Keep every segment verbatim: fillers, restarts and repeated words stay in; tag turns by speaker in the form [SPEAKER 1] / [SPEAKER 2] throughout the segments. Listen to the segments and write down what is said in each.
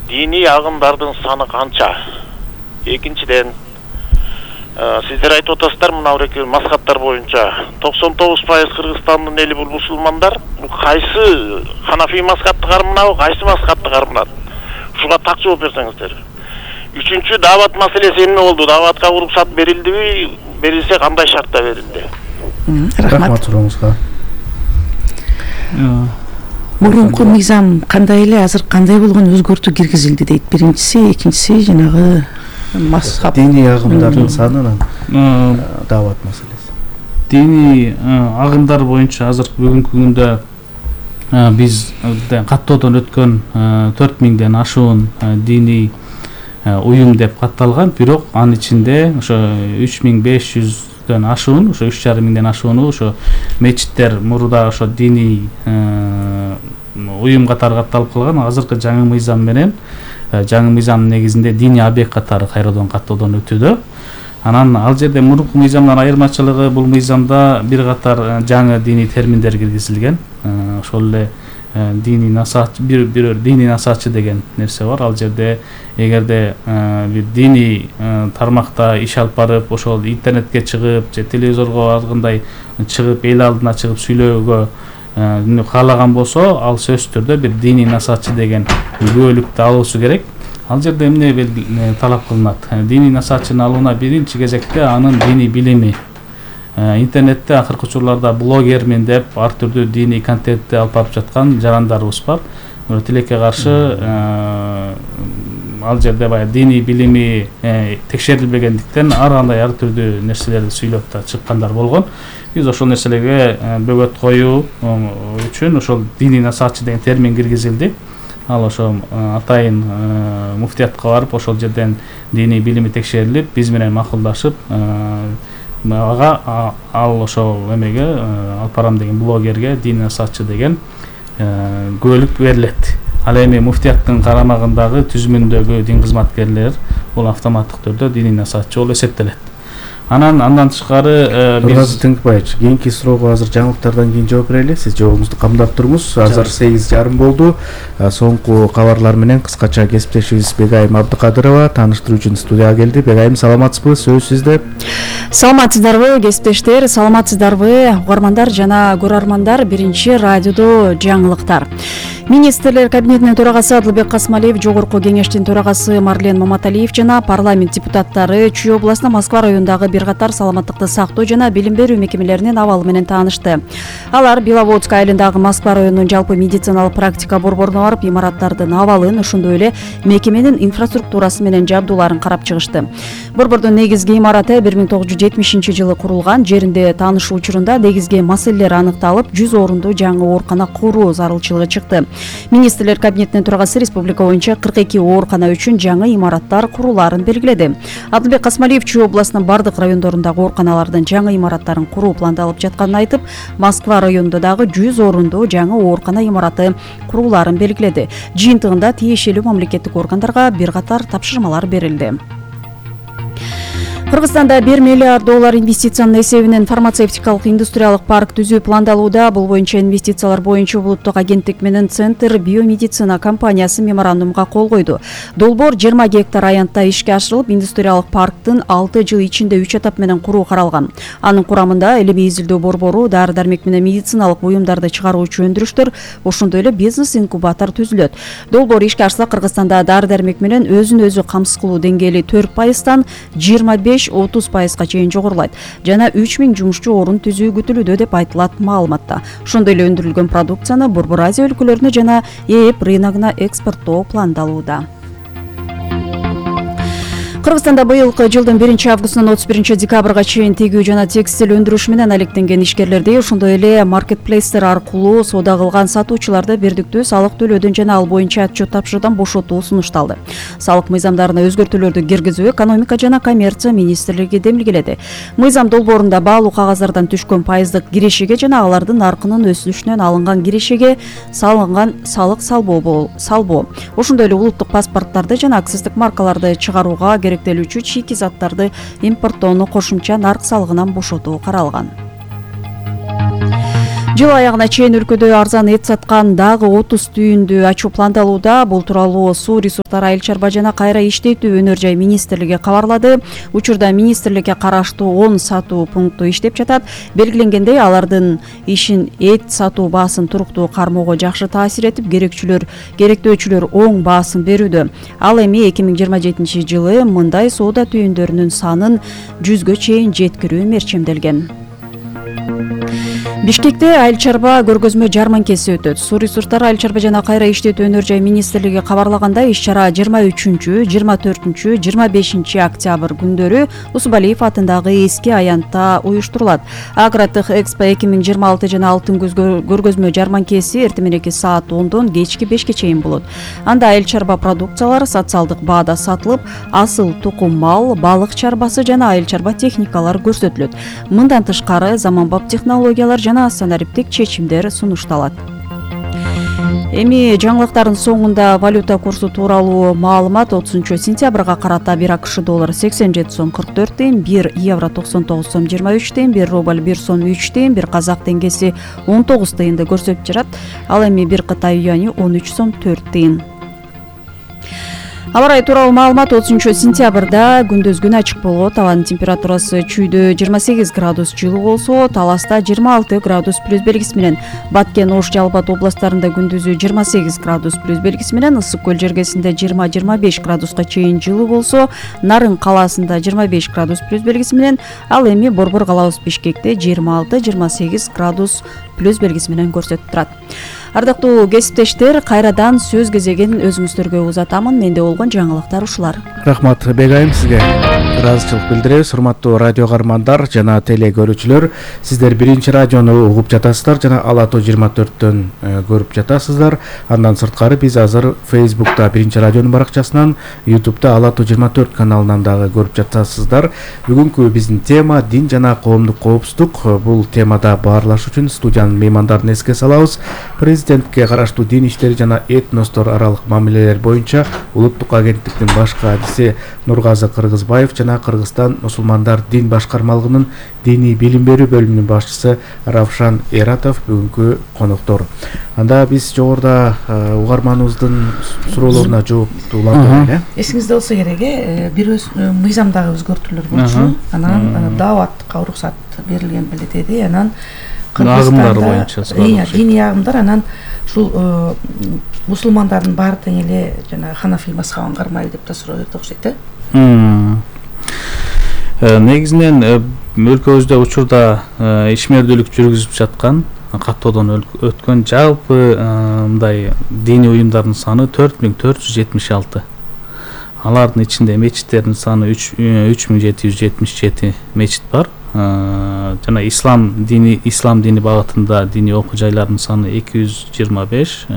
[SPEAKER 1] диний агымдардын саны канча? Экинчиден, сиздер айтып атасыздар мына буреки маскаттар боюнча токсон тогуз пайыз Кыргызстандын эли бул мусулмандар. Бул кайсы Ханафи маскатты карманабы, кайсы маскатты карманат? Ушуга так жооп берсеңиздер. Үчүнчү, даават маселеси эмне болду? Дааватка уруксат берилдиби? Берилсе кандай шартта берилди?
[SPEAKER 2] Рахмат сурооңузга.
[SPEAKER 3] Мурунку мыйзам кандай эле, азыр кандай болгон өзгөртүү киргизилди дейт. Биринчиси, экинчиси жанагы мазхаб
[SPEAKER 2] диний агымдардын санынан даават маселеси.
[SPEAKER 4] Диний агымдар боюнча азыр бүгүнкү күндө биз каттоодон өткөн төрт миңден ашуун диний уюм деп катталган, бирок анын ичинде ошо үч миң беш жүздөн ашуун, ошо үч жарым миңден ашууну ошо мечиттер мурда ошо диний уюм катары катталып калган. Азыркы жаңы мыйзам менен жаңы мыйзамдын негизинде диний объект катары кайрадан каттоодон өтүүдө. Анан ал жерде мурунку мыйзамдан айырмачылыгы, бул мыйзамда бир катар жаңы диний терминдер киргизилген. Ошол эле диний насаатчы, бир бир диний насаатчы деген нерсе бар. Ал жерде эгерде бир диний тармакта иш алып барып, ошол интернетке чыгып, же телевизорго ар кандай чыгып, эл алдына чыгып сүйлөөгө каалаган болсо, ал сөзсүз түрдө бир диний насаатчы деген күбөлүктү алуусу керек. Ал жерде эмне талап кылынат? Диний насаатчыны алууна биринчи кезекте анын диний билими. Интернетте акыркы учурларда блогермин деп ар түрдүү диний контентти алып барып жаткан жарандарыбыз бар. Тилекке каршы ал жерде баягы диний билими текшерилбегендиктен ар кандай ар түрдүү нерселерди сүйлөп да чыккандар болгон. Биз ошол нерселерге бөгөт коюу үчүн ошол диний насаатчы деген термин киргизилди. Ал ошо атайын муфтиятка барып, ошол жерден диний билими текшерилип, биз менен макулдашып, ага ал ошол эмеге алып барам деген блогерге диний насаатчы деген күбөлүк берилет. Ал эми муфтияттын карамагындагы түзүмүндөгү дин кызматкерлер бул автоматтык түрдө диний насаатчы болуп эсептелет. Анан андан тышкары
[SPEAKER 2] биз Тыңкыбаевич, кийинки суроого азыр жаңылыктардан кийин жооп берели. Сиз жообуңузду камдап туруңуз. Азыр сегиз жарым болду. Соңку кабарлар менен кыскача кесиптешибиз Бегайым Абдыкадырова тааныштыруу үчүн студияга келди. Бегайым, саламатсызбы? Сөз сизде.
[SPEAKER 5] Саламатсыздарбы, кесиптештер? Саламатсыздарбы, угармандар жана көрөрмандар? Биринчи радиодо жаңылыктар. Министрлер кабинетинин төрагасы Адылбек Касмалиев, жогорку кеңештин төрагасы Марлен Маматалиев жана парламент депутаттары Чүй областына Москва районундагы бир катар саламаттыкты сактоо жана билим берүү мекемелеринин абалы менен таанышты. Алар Беловодск айылындагы Москва районунун жалпы медициналык практика борборуна барып, имараттардын абалын, ошондой эле мекеменин инфраструктурасы менен жабдууларын карап чыгышты. Борбордун негизги имараты бир миң тогуз жүз жетимишинчи жылы курулган. Жеринде таанышуу учурунда негизги маселелер аныкталып, жүз орунду жаңы оорукана куруу зарылчылыгы чыкты. Министрлер кабинетинин төрагасы республика боюнча кырк эки оорукана үчүн жаңы имараттар курулаарын белгиледи. Адылбек Касмалиев Чүй областынын бардык райондорундагы ооруканалардын жаңы имараттарын куруу пландалып жатканын айтып, Москва районунда дагы жүз орунду жаңы оорукана имараты курулаарын белгиледи. Жыйынтыгында тиешелүү мамлекеттик органдарга бир катар тапшырмалар берилди. Кыргызстанда бир миллиард доллар инвестициянын эсебинен фармацевтикалык индустриялык парк түзүү пландалууда. Бул боюнча инвестициялар боюнча улуттук агенттик менен Центр биомедицина компаниясы меморандумга кол койду. Долбоор жыйырма гектар аянтта ишке ашырылып, индустриялык парктын алты жыл ичинде үч этап менен куруу каралган. Анын курамында элеми изилдөө борбору, дары-дармек менен медициналык буюмдарды чыгаруучу өндүрүштөр, ошондой эле бизнес инкубатор түзүлөт. Долбоор ишке ашса, Кыргызстанда дары-дармек менен өзүн өзү камсыз кылуу деңгээли төрт пайыздан жыйырма беш отуз пайызга чейин жогорулайт жана үч миң жумушчу орун түзүү күтүлүүдө деп айтылат маалыматта. Ошондой эле өндүрүлгөн продукцияны Борбор Азия өлкөлөрүнө жана ЭЭП рыногуна экспорттоо пландалууда. Кыргызстанда быйылкы жылдын биринчи августунан отуз биринчи декабрга чейин тегүү жана текстиль өндүрүш менен алектенген ишкерлерди, ошондой эле маркетплейстер аркылуу соода кылган сатуучуларды бирдиктүү салык төлөөдөн жана ал боюнча отчет тапшыруудан бошотуу сунушталды. Салык мыйзамдарына өзгөртүүлөрдү киргизүү экономика жана коммерция министрлиги демилгеледи. Мыйзам долбоорунда баалуу кагаздардан түшкөн пайыздык кирешеге жана алардын наркынын өсүшүнөн алынган кирешеге салынган салык салбоо салбоо. Ошондой эле улуттук паспорттарды жана акциздик маркаларды чыгарууга керектелүүчү чийки заттарды импорттоону кошумча нарк салыгынан бошотуу каралган. Жыл аягына чейин өлкөдө арзан эт саткан дагы отуз түйүндү ачуу пландалууда. Бул тууралуу Суу ресурстары айыл чарба жана кайра иштетүү өнөр жай министрлиги кабарлады. Учурда министрликке караштуу он сатуу пункту иштеп жатат. Белгиленгендей, алардын ишин эт сатуу баасын туруктуу кармоого жакшы таасир этип, керекчүлөр керектөөчүлөр оң баасын берүүдө. Ал эми эки миң жыйырма жетинчи жылы мындай соода түйүндөрүнүн санын жүзгө чейин жеткирүү мерчемделген. Бишкекте айыл чарба көргөзмө жарманкеси өтөт. Суу ресурстары айыл чарба жана кайра иштетүү өнөр жай министрлиги кабарлагандай, иш-чара жыйырма үчүнчү, жыйырма төртүнчү, жыйырма бешинчи октябрь күндөрү Усубалиев атындагы эски аянтта уюштурулат. Агротех Экспо эки миң жыйырма алты жана алтын күз көргөзмө жарманкеси эртең мененки саат ондон кечки бешке чейин болот. Анда айыл чарба продукциялары социалдык баада сатылып, асыл тукум мал, балык чарбасы жана айыл чарба техникалар көрсөтүлөт. Мындан тышкары заманбап технологиялар жана санариптик чечимдер сунушталат. Эми жаңылыктардын соңунда валюта курсу тууралуу маалымат. отузунчу сентябрга карата бир АКШ доллар сексен жети сом кырк төрт тыйын, бир евро токсон тогуз сом жыйырма үч тыйын, бир рубль бир сом үч тыйын, бир казак теңгеси он тогуз тыйынды көрсөтүп жатат. Ал эми бир Кытай юани он үч сом төрт тыйын. Аба ырайы тууралуу маалымат. отузунчу сентябрда күндүз күн ачык болот. Абанын температурасы чүйдө жыйырма сегиз градус жылуу болсо, Таласта жыйырма алты градус плюс белгиси менен, Баткен, Ош, Жалбат областтарында күндүзү жыйырма сегиз градус плюс белгиси менен, Ысык көл жергесинде жыйырма жыйырма беш градуска чейин жылуу болсо, Нарын калаасында жыйырма беш градус плюс белгиси менен, ал эми Борбор калабыз Бишкекте жыйырма алты жыйырма сегиз градус плюс белгиси менен көрсөтүп турат. Ардактуу кесиптештер, кайрадан сөз кезегин өзүңүздөргө узатамын. Менде болгон жаңылыктар ушулар.
[SPEAKER 2] Рахмат Бегайым, сизге ыраазычылык билдиребиз. Урматтуу радио каармандар жана теле көрүүчүлөр, сиздер биринчи радиону угуп жатасыздар жана Ала тоо жыйырма төрттөн көрүп жатасыздар. Андан сырткары биз азыр Facebook'та биринчи радионун баракчасынан, YouTube'да Ала тоо жыйырма төрт каналынан дагы көрүп жатасыздар. Бүгүнкү биздин тема дин жана коомдук коопсуздук. Бул темада баарлаш үчүн студиянын меймандарын эске салабыз. Президентке караштуу дин иштери жана этностор аралык мамилелер боюнча улуттук агенттиктин баш каадиси Нургазы Кыргызбаев жана Кыргызстан мусулмандар дин башкармалыгынын диний билим берүү бөлүмүнүн башчысы Равшан Эратов бүгүнкү коноктор. Анда биз жогоруда угарманыбыздын суроолоруна жооптуулап берели.
[SPEAKER 3] Эсиңизде болсо керек, бир мыйзамдагы өзгөртүүлөр болчу. Анан дааватка уруксат берилген беле деди. Анан
[SPEAKER 4] агымдар боюнча
[SPEAKER 3] диний агымдар, анан ушул мусулмандардын баары тең эле жана ханафи мазхабын кармайлы деп да суроо берди окшойт э.
[SPEAKER 4] Негизинен өлкөбүздө учурда ишмердүүлүк жүргүзүп жаткан, каттоодон өткөн жалпы мындай диний уюмдардын саны төрт миң төрт жүз жетимиш алты. Алардын ичинде мечиттердин саны үч миң жети жүз жетимиш жети мечит бар. Жана ислам дини ислам дини багытында диний окуу жайлардын саны эки жүз жыйырма беш,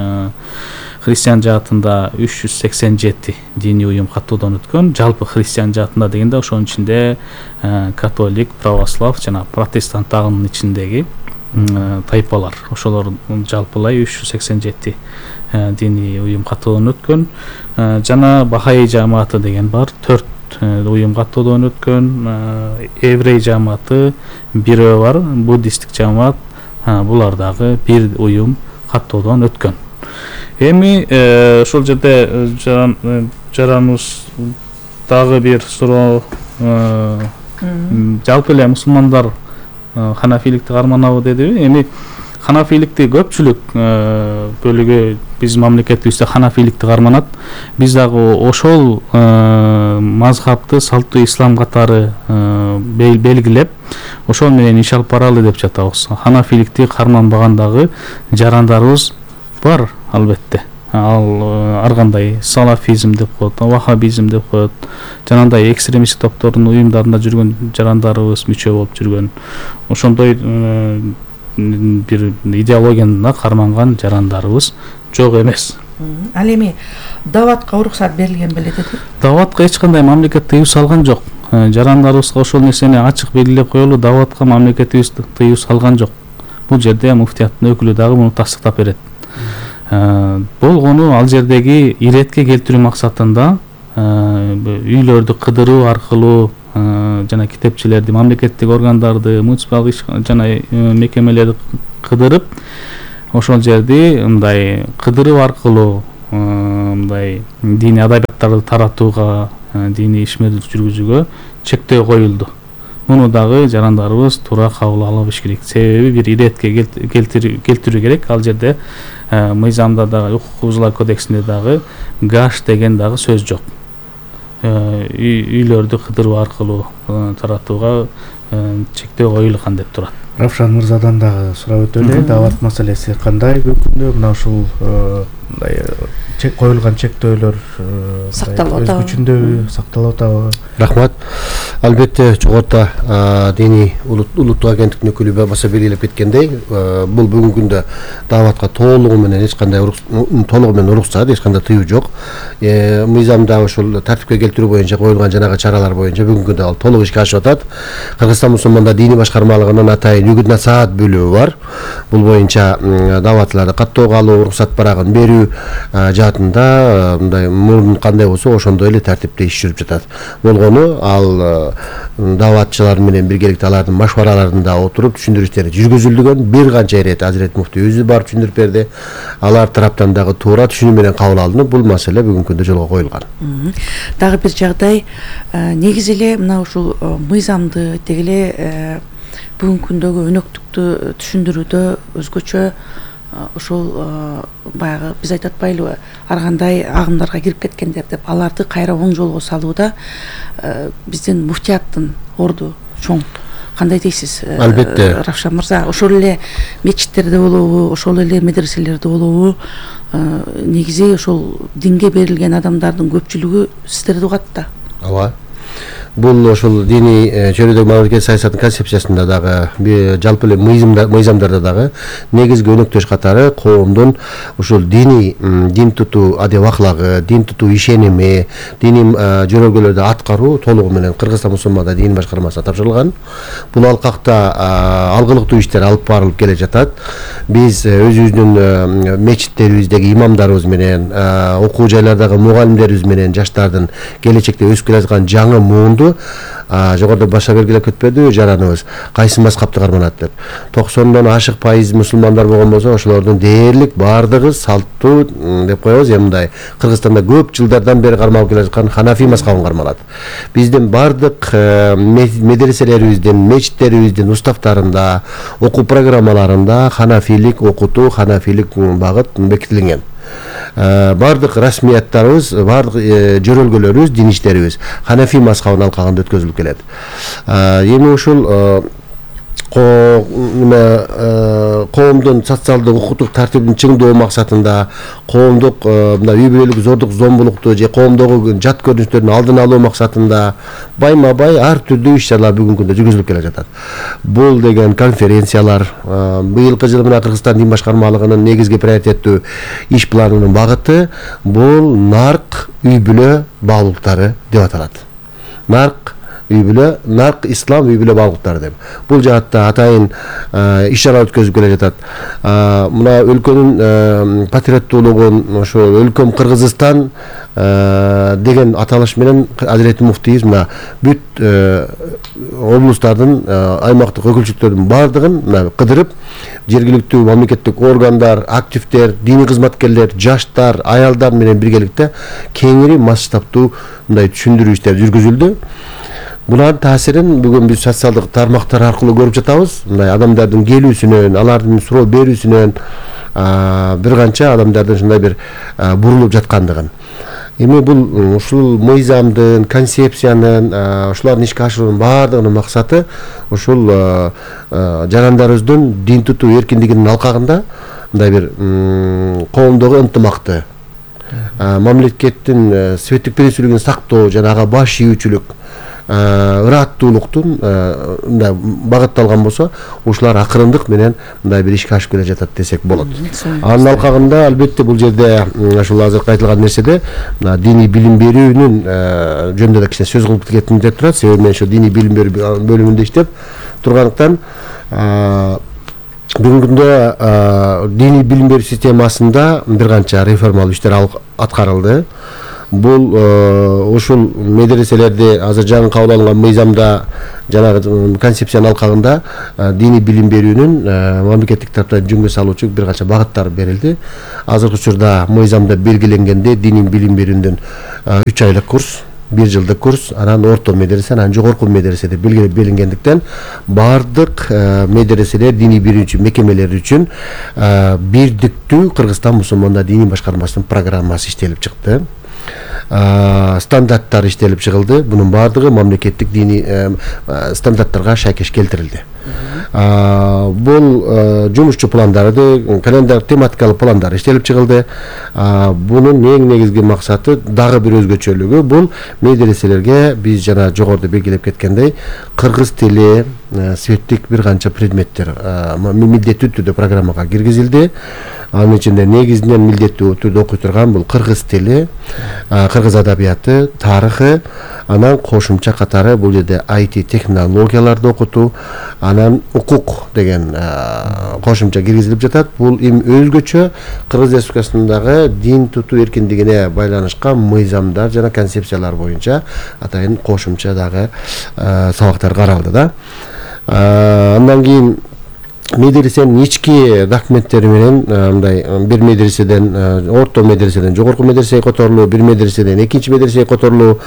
[SPEAKER 4] христиан жаатында үч жүз сексен жети диний уюм каттоодон өткөн. Жалпы христиан жаатында дегенде ошонун ичинде католик, православ жана протестант агымынын ичиндеги тайпалар, ошолор жалпылай үч жүз сексен жети диний уюм каттоодон өткөн. Жана Бахаи жамааты деген бар, төрт уюм каттоодон өткөн. Еврей жамааты бирөө бар, буддисттик жамаат, булар дагы бир уюм каттоодон өткөн. Эми ошол жерде жараныбыз дагы бир суроо, жалпы эле мусулмандар ханафиликти карманабы дедиби? Эми ханафиликти көпчүлүк бөлүгү биз мамлекетибизде ханафиликти карманат. Биз дагы ошол мазхабты салттуу ислам катары белгилеп, ошол менен иш алып баралы деп жатабыз. Ханафиликти карманбагандагы жарандарыбыз бар албетте. Ал ар кандай салафизм деп коет, вахабизм деп коет, жанагындай экстремисттик топтордун уюмдарында жүргөн жарандарыбыз, мүчө болуп жүргөн, ошондой бир идеологияны карманган жарандарыбыз жок эмес.
[SPEAKER 3] Ал эми дааватка уруксат берилген беле деди?
[SPEAKER 4] Дааватка эч кандай мамлекет тыюу салган жок. Жарандарыбызга ошол нерсени ачык белгилеп коелу, дааватка мамлекетибиз тыюу салган жок. Бул жерде муфтияттын өкүлү дагы муну тастыктап берет. Болгону ал жердеги иретке келтирүү максатында үйлөрдү кыдыруу аркылуу жана китепчилерди, мамлекеттик органдарды, муниципалдык жана мекемелерди кыдырып ошол жерди мындай кыдыруу аркылуу мындай диний адабияттарды таратууга, диний ишмердик жүргүзүүгө чектөө коюлду. Муну дагы жарандарыбыз туура кабыл ала беш керек. Себеби бир иретке келтирүү керек. Ал жерде мыйзамда дагы, укук бузуулар кодексинде дагы гаш деген дагы сөз жок. Үйлөрдү кыдыруу аркылуу таратууга чектөө коюлган деп турат.
[SPEAKER 2] Равшан мырзадан дагы сурап өтөлү. Даават маселеси кандай бүгүнкү күндө? Мына ушул чек коюлган чектөөлөр
[SPEAKER 3] сакталып атабы?
[SPEAKER 2] Өз күчүндөбү, сакталып атабы?
[SPEAKER 6] Рахмат. Албетте жогоруда диний улуттук агенттиктин өкүлү баса белгилеп кеткендей, бул бүгүнкү күндө дааватка толугу менен эч кандай толугу менен уруксат, эч кандай тыюу жок. Мыйзамда ушул тартипке келтирүү боюнча коюлган жанагы чаралар боюнча бүгүнкү күндө ал толук ишке ашып атат. Кыргызстан мусулмандар диний башкармалыгынын атайын үгүт насаат бөлүгү бар. Бул боюнча дааватларды каттоого алуу, уруксат барагын берүү жаатында мындай мурун кандай болсо ошондой эле тартипте иш жүрүп жатат. Болгону ал дааватчылар менен биргеликте алардын машвараларында отуруп түшүндүрүштөр жүргүзүлгөн. Бир канча ирет Азирет муфтий өзү барып түшүндүрүп берди. Алар тараптан дагы туура түшүнүү менен кабыл алынып, бул маселе бүгүнкү күндө жолго коюлган.
[SPEAKER 3] Дагы бир жагдай, негизи эле мына ушул мыйзамды деги эле бүгүнкү күндөгү өнөктүктү түшүндүрүүдө өзгөчө ошол баягы биз айтып атпайлыбы, ар кандай агымдарга кирип кеткендер деп аларды кайра оң жолго салууда биздин муфтияттын орду чоң. Кандай дейсиз?
[SPEAKER 6] Албетте.
[SPEAKER 3] Равшан мырза, ошол эле мечиттерде болобу, ошол эле медреселерде болобу, негизи ошол динге берилген адамдардын көпчүлүгү сиздерди угат да.
[SPEAKER 6] Ооба. Бул ошол диний чөйрөдөгү мамлекет саясатынын концепциясында дагы, жалпы эле мыйзамдарда дагы негизги өнөктөш катары коомдун ушул диний дин тутуу адеп аклагы, дин тутуу ишеними, диний жөрөлгөлөрдү аткаруу толугу менен Кыргызстан мусулмандар дин башкармасына тапшырылган. Бул алкакта алгылыктуу иштер алып барылып келе жатат. Биз өзүбүздүн мечиттерибиздеги имамдарыбыз менен, окуу жайлардагы мугалимдерибиз менен жаштардын келечекте өсүп келе жаткан жаңы муунду жогоруда баша белгилеп кетпедиби жараныбыз кайсы мазхабты карманат деп. токсондон ашык пайыз мусулмандар болгон болсо, ошолордун дээрлик баардыгы салттуу деп коебуз, мындай Кыргызстанда көп жылдардан бери кармалып келе жаткан Ханафи мазхабын кармалат. Биздин баардык медреселерибиздин, мечиттерибиздин уставтарында, окуу программаларында ханафилик окутуу, ханафилик багыт бекитилген. Бардык расмияттарыбыз, бардык жөрөлгөлөрүбүз, дин иштерибиз Ханафи мазхабынын алкагында өткөзүлүп келет. Эми ушул коомдун социалдык укуктук тартибин чыңдоо максатында, коомдук мына үй бүлөлүк зордук зомбулукту же коомдогу жат көрүнүштөрдүн алдын алуу максатында байма бай ар түрдүү иш-чаралар бүгүнкү күндө жүргүзүлүп келе жатат. Бул деген конференциялар, быйылкы жылы мына Кыргызстан дин башкармалыгынын негизги приоритеттүү иш планынын багыты бул нарк үй бүлө баалуулуктары деп аталат. Нарк үй бүлө, нарк ислам үй бүлө баалуулуктары деп. Бул жаатта атайын иш-чара өткөзүп келе жатат. Мына өлкөнүн патриоттуулугун, ошо өлкөм Кыргызстан деген аталыш менен Азирет муфтийибиз мына бүт облустардын, аймактык өкүлчүлүктөрдүн баардыгын кыдырып, жергиликтүү мамлекеттик органдар, активдер, диний кызматкерлер, жаштар, аялдар менен биргеликте кеңири масштабтуу мындай түшүндүрүү иштери жүргүзүлдү. Булардын таасирин бүгүн биз социалдык тармактар аркылуу көрүп жатабыз. Мындай адамдардын келүүсүнөн, алардын суроо берүүсүнөн бир канча адамдардын ушундай бир бурулуп жаткандыгын. Эми бул ушул мыйзамдын, концепциянын, ушулардын ишке ашыруунун баардыгынын максаты ушул жарандарыбыздын дин тутуу эркиндигинин алкагында мындай бир коомдогу ынтымакты, мамлекеттин светтик принциптерин сактоо жана ага баш ийүүчүлүк, ыраттуулуктун мындай багытталган болсо, ушулар акырындык менен мындай бир ишке ашып келе жатат десек болот. Анын алкагында албетте бул жерде ушул азыркы айтылган нерседе диний билим берүүнүн жөнүндө да кичине сөз кылып кеткем деп турат. Себеби мен ошо диний билим берүү бөлүмүндө иштеп тургандыктан бүгүнкү күндө диний билим берүү системасында бир канча реформалуу иштер аткарылды. бул ушул медреселерде азыр жаңы кабыл алынган мыйзамда жанагы концепциянын алкагында диний билим берүүнүн мамлекеттик тараптан жөнгө салуучу бир канча багыттар берилди. Азыркы учурда мыйзамда белгиленгенде диний билим берүүнүн үч айлык курс, бир жылдык курс, анан орто медресе, анан жогорку медресе деп белгилеп белгилендиктен баардык медреселер диний берүүчү мекемелер үчүн бирдиктүү Кыргызстан мусулмандар диний башкармасынын программасы иштелип чыкты. Стандарттар иштелип чыгылды. Бунун баардыгы мамлекеттик диний стандарттарга шайкеш келтирилди. Бул жумушчу пландары, календар тематикалык пландар иштелип чыгылды. Бунун эң негизги максаты дагы бир өзгөчөлүгү бул медреселерге биз жана жогоруда белгилеп кеткендей кыргыз тили, светтик бир канча предметтер милдеттүү түрдө программага киргизилди. Анын ичинде негизинен милдеттүү түрдө окуй турган бул кыргыз тили, кыргыз адабияты, тарыхы, анан кошумча катары бул жерде ай ти технологияларды окутуу, анан укук деген кошумча киргизилип жатат. Бул эми өзгөчө Кыргыз Республикасындагы дин тутуу эркиндигине байланышкан мыйзамдар жана концепциялар боюнча атайын кошумча дагы сабактар каралды да. Андан кийин медресенин ички документтери менен мындай бир медреседен орто медреседен жогорку медресеге которулуу, бир медреседен экинчи медресеге которулуу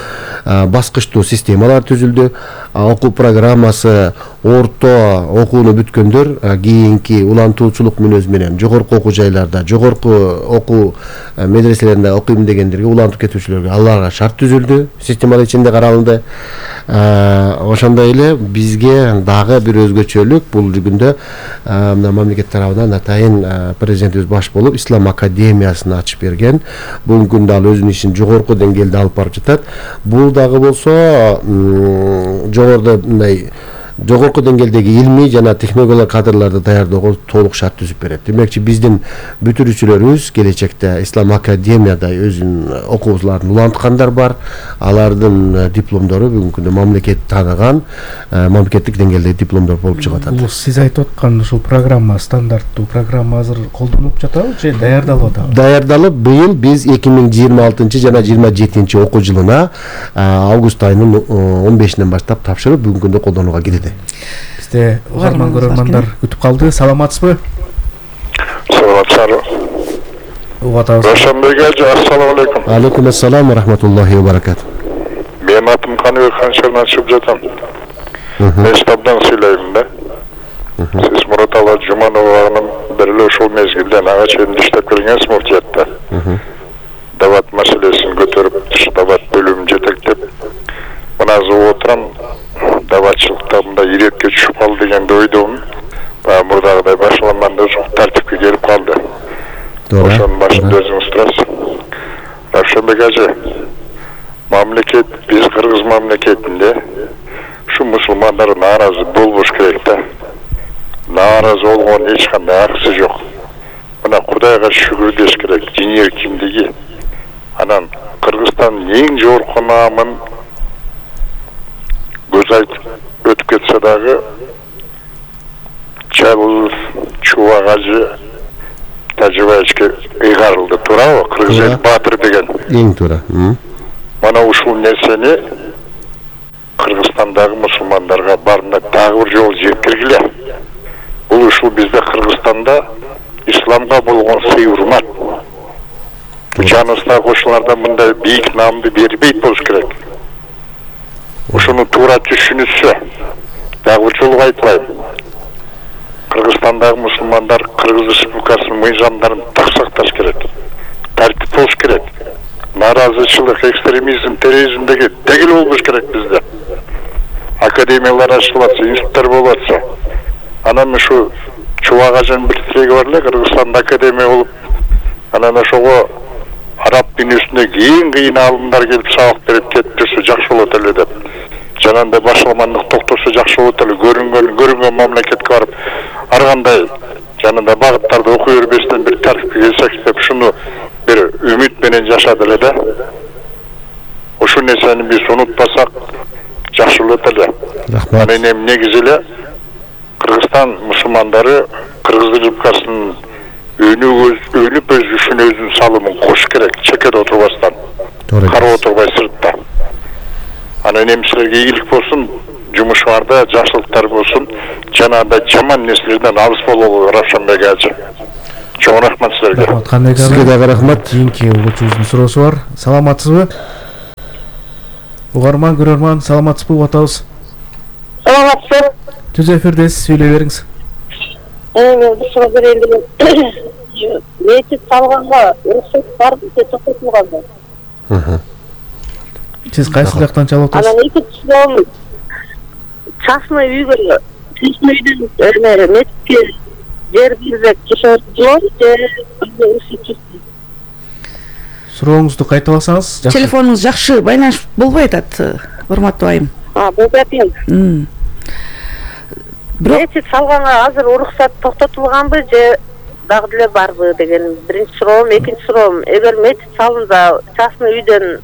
[SPEAKER 6] баскычтуу системалар түзүлдү. Окуу программасы орто окууну бүткөндөр кийинки улантуучулук мүнөзү менен жогорку окуу жайларда, жогорку окуу медреселеринде окуйм дегендерге улантып кетүүчүлөргө аларга шарт түзүлдү, системалар ичинде каралды. Ошондой эле бизге дагы бир өзгөчөлүк бул күндө мамлекет тарабынан атайын президентибиз баш болуп Ислам академиясын ачып берген. Бүгүнкү күндө ал өзүнүн ишин жогорку деңгээлде алып барып жатат. Бул дагы болсо жогоруда мындай жогорку деңгээлдеги илмий жана технологиялык кадрларды даярдоого толук шарт түзүп берет. Демекчи биздин бүтүрүүчүлөрүбүз келечекте Ислам академияда өзүнүн окуучуларын уланткандар бар. Алардын дипломдору бүгүнкү күндө мамлекет тааныган мамлекеттик деңгээлдеги дипломдор болуп чыгып атат.
[SPEAKER 2] Бул сиз айтып аткан ушул программа, стандарттуу программа азыр колдонулуп жатабы же даярдалып атабы?
[SPEAKER 6] Даярдалып, быйыл биз эки миң жыйырма алтынчы жана жыйырма жетинчи окуу жылына август айынын он бешинен баштап тапшырып бүгүнкү күндө колдонууга кирди.
[SPEAKER 2] Бизде угарман көрөрмандар күтүп калды. Саламатсызбы?
[SPEAKER 7] Саламатсызбы.
[SPEAKER 2] Угатабыз.
[SPEAKER 7] Рошонбек эже, ассаламу алейкум.
[SPEAKER 6] Алейкум ассалам ва рахматуллахи ва баракату.
[SPEAKER 7] Менин атым Каныбек Канчарынан чыгып жатам. Мен штабдан сүйлөйм да. Сиз Мураталы Жуманованын бир эле ошол мезгилден ага чейин иштеп келгенсиз муфтиятта. Дават маселесин көтөрүп, дават бөлүмүн жетектеп, мына азыр отурам. Даватчылыкта мындай ирекке түшүп калды дегенди ойдомун. Баягы мурдагыдай башламанда жок тартипке келип калды. Ошонун башында өзүңүз турасыз. Равшанбек эже, мамлекет, биз кыргыз мамлекетинде ушу мусулмандар нааразы болбош керек да. Нааразы болгон эч кандай аргысы жок. Мына Кудайга шүгүр деш керек, диний эркиндиги. Анан Кыргызстандын эң жогорку наамын көз айтып өтүп кетсе дагы Чалов Чубак ажы Тажыбаевичке ыйгарылды, туурабы? Кыргыз эл баатыр деген.
[SPEAKER 6] Эң туура.
[SPEAKER 7] Мана ушул нерсени Кыргызстандагы мусулмандарга барына дагы бир жолу жеткиргиле. Бул ушул бизде Кыргызстанда исламга болгон сый урмат. Жаныбызда кошулардан мындай бийик наамды бербейт болуш керек. Ушуну туура түшүнүшсө, дагы бир жолу айтылайм. Кыргызстандагы мусулмандар Кыргыз Республикасынын мыйзамдарын так сакташ керек. Тартип болуш керек. Нааразычылык, экстремизм, терроризм деген дегел болбош керек бизде. Академиялар ачылып атса, институттар болуп атса. Анан ушу Чубак ажынын бир тилеги бар эле, Кыргызстанда академия болуп, анан ошого араб дүйнөсүндөгү эң кыйын аалымдар келип сабак берип кетип жүрсө жакшы болот эле деп. Жанагындай башламандык токтосо жакшы болот эле. Көрүнгөн көрүнгөн мамлекетке барып, ар кандай жанагындай багыттарды окуй бербестен бир тартипке келсек деп ушуну бир үмүт менен жашады эле да. Ошол нерсени биз унутпасак жакшы болот эле.
[SPEAKER 6] Рахмат.
[SPEAKER 7] Анан эми негизи эле Кыргызстан мусулмандары Кыргыз Республикасынын өнүгүп өз өнүп өзүшүнө өзүнүн салымын кош керек, чекеде отурбастан. карап отурбай сыртта. Анан эми силерге ийгилик болсун, жумушуңарда жакшылыктар болсун, жанагындай жаман нерселерден алыс бололу Равшанбек ажы. Чоң рахмат силерге.
[SPEAKER 2] Рахмат Канбек ага.
[SPEAKER 6] Сизге дагы рахмат.
[SPEAKER 2] Кийинки угуучубуздун суроосу бар. Саламатсызбы? Угарман, көрөрман, саламатсызбы? Угуп атабыз.
[SPEAKER 8] Саламатсыз.
[SPEAKER 2] Түз эфирдесиз, сүйлөй бериңиз.
[SPEAKER 8] Э, бир суроо берейин. Мечит салганга уруксат барбы, же токтотулганбы?
[SPEAKER 6] Мхм.
[SPEAKER 2] Сиз кайсы жактан чалып атасыз?
[SPEAKER 8] Анан экинчи суроо, частный үйгө, частный үйдөн эме мечитке жер берсек жашоого болобу, же уруксат?
[SPEAKER 2] Сурооңузду кайталасаңыз жакшы.
[SPEAKER 3] Телефонуңуз жакшы байланыш болбой атат, урматтуу айым.
[SPEAKER 8] А, болбой атат. Мечит салганга азыр уруксат токтотулганбы, же дагы деле барбы деген биринчи суроом. Экинчи суроом, эгер мечит салынса, частный үйдөн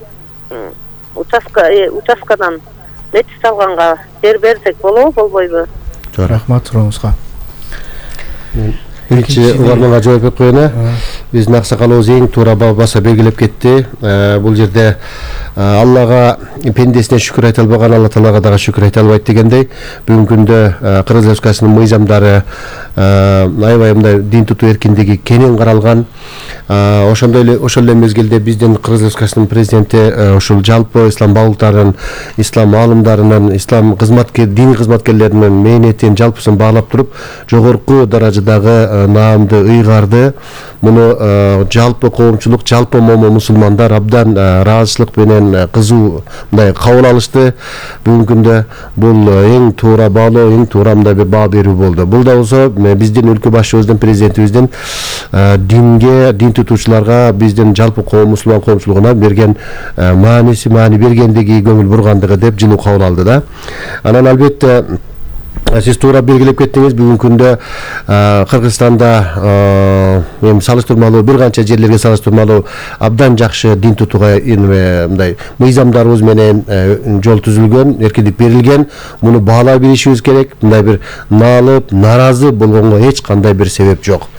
[SPEAKER 8] участка участкадан мечит салганга жер берсек болобу, болбойбу?
[SPEAKER 2] Рахмат сурооңузга.
[SPEAKER 6] Биринчи угарманга жооп берип коеюн. Биздин аксакалыбыз эң туура баса белгилеп кетти. Бул жерде Аллага пендесине шүкүр айта албаган Алла Таалага дагы шүкүр айта албайт дегендей, бүгүнкү күндө Кыргыз Республикасынын мыйзамдары аябай мындай дин тутуу эркиндиги кенен каралган. Ошондой эле ошол эле мезгилде биздин Кыргыз Республикасынын президенти ушул жалпы ислам баглыктарын, ислам аалымдарынын, ислам кызматкер, диний кызматкерлеринин мээнетин жалпысын баалап туруп, жогорку даражадагы наамды, ыйгарды муну жалпы коомчулук, жалпы момун мусулмандар абдан ыраазычылык менен кызуу мындай кабыл алышты. Бүгүнкү күндө бул эң туура баалоо, эң туура мындай бир баа берүү болду. Бул да болсо биздин өлкө башчыбыздын, президентибиздин динге, дин тутуучуларга, биздин жалпы коом, мусулман коомчулугуна берген мааниси, маани бергендиги, көңүл бургандыгы деп жылуу кабыл алды да. Анан албетте сиз туура белгилеп кеттиңиз, бүгүнкү күндө Кыргызстанда эми салыштырмалуу бир канча жерлерге салыштырмалуу абдан жакшы дин тутууга мындай мыйзамдарыбыз менен жол түзүлгөн, эркиндик берилген. Муну баалай билишибиз керек. Мындай бир наалып, наразы болгонго эч кандай бир себеп жок.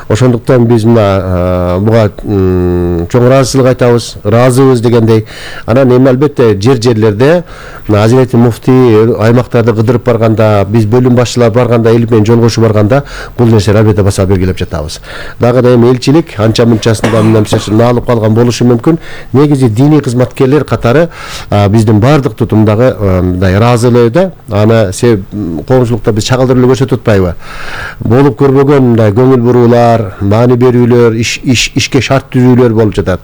[SPEAKER 6] Ошондуктан биз мына буга чоң ыраазычылык айтабыз, ыраазыбыз дегендей. Анан эми албетте жер-жерлерде Азирети муфтий аймактарды кыдырып барганда, биз бөлүм башчылар барганда, эл менен жолгошуу барганда бул нерселер албетте баса белгилеп жатабыз. Дагы да эми элчилик анча мынчасында мындай наалып калган болушу мүмкүн. Негизи диний кызматкерлер катары биздин баардык тутумдагы мындай ыраазылыгы, аны коомчулукта биз чагылдырып эле көрсөтүп атпайбы? Болуп көрбөгөн мындай көңүл буруулар, маани берүүлөр, иш ишке шарт түзүүлөр болуп жатат.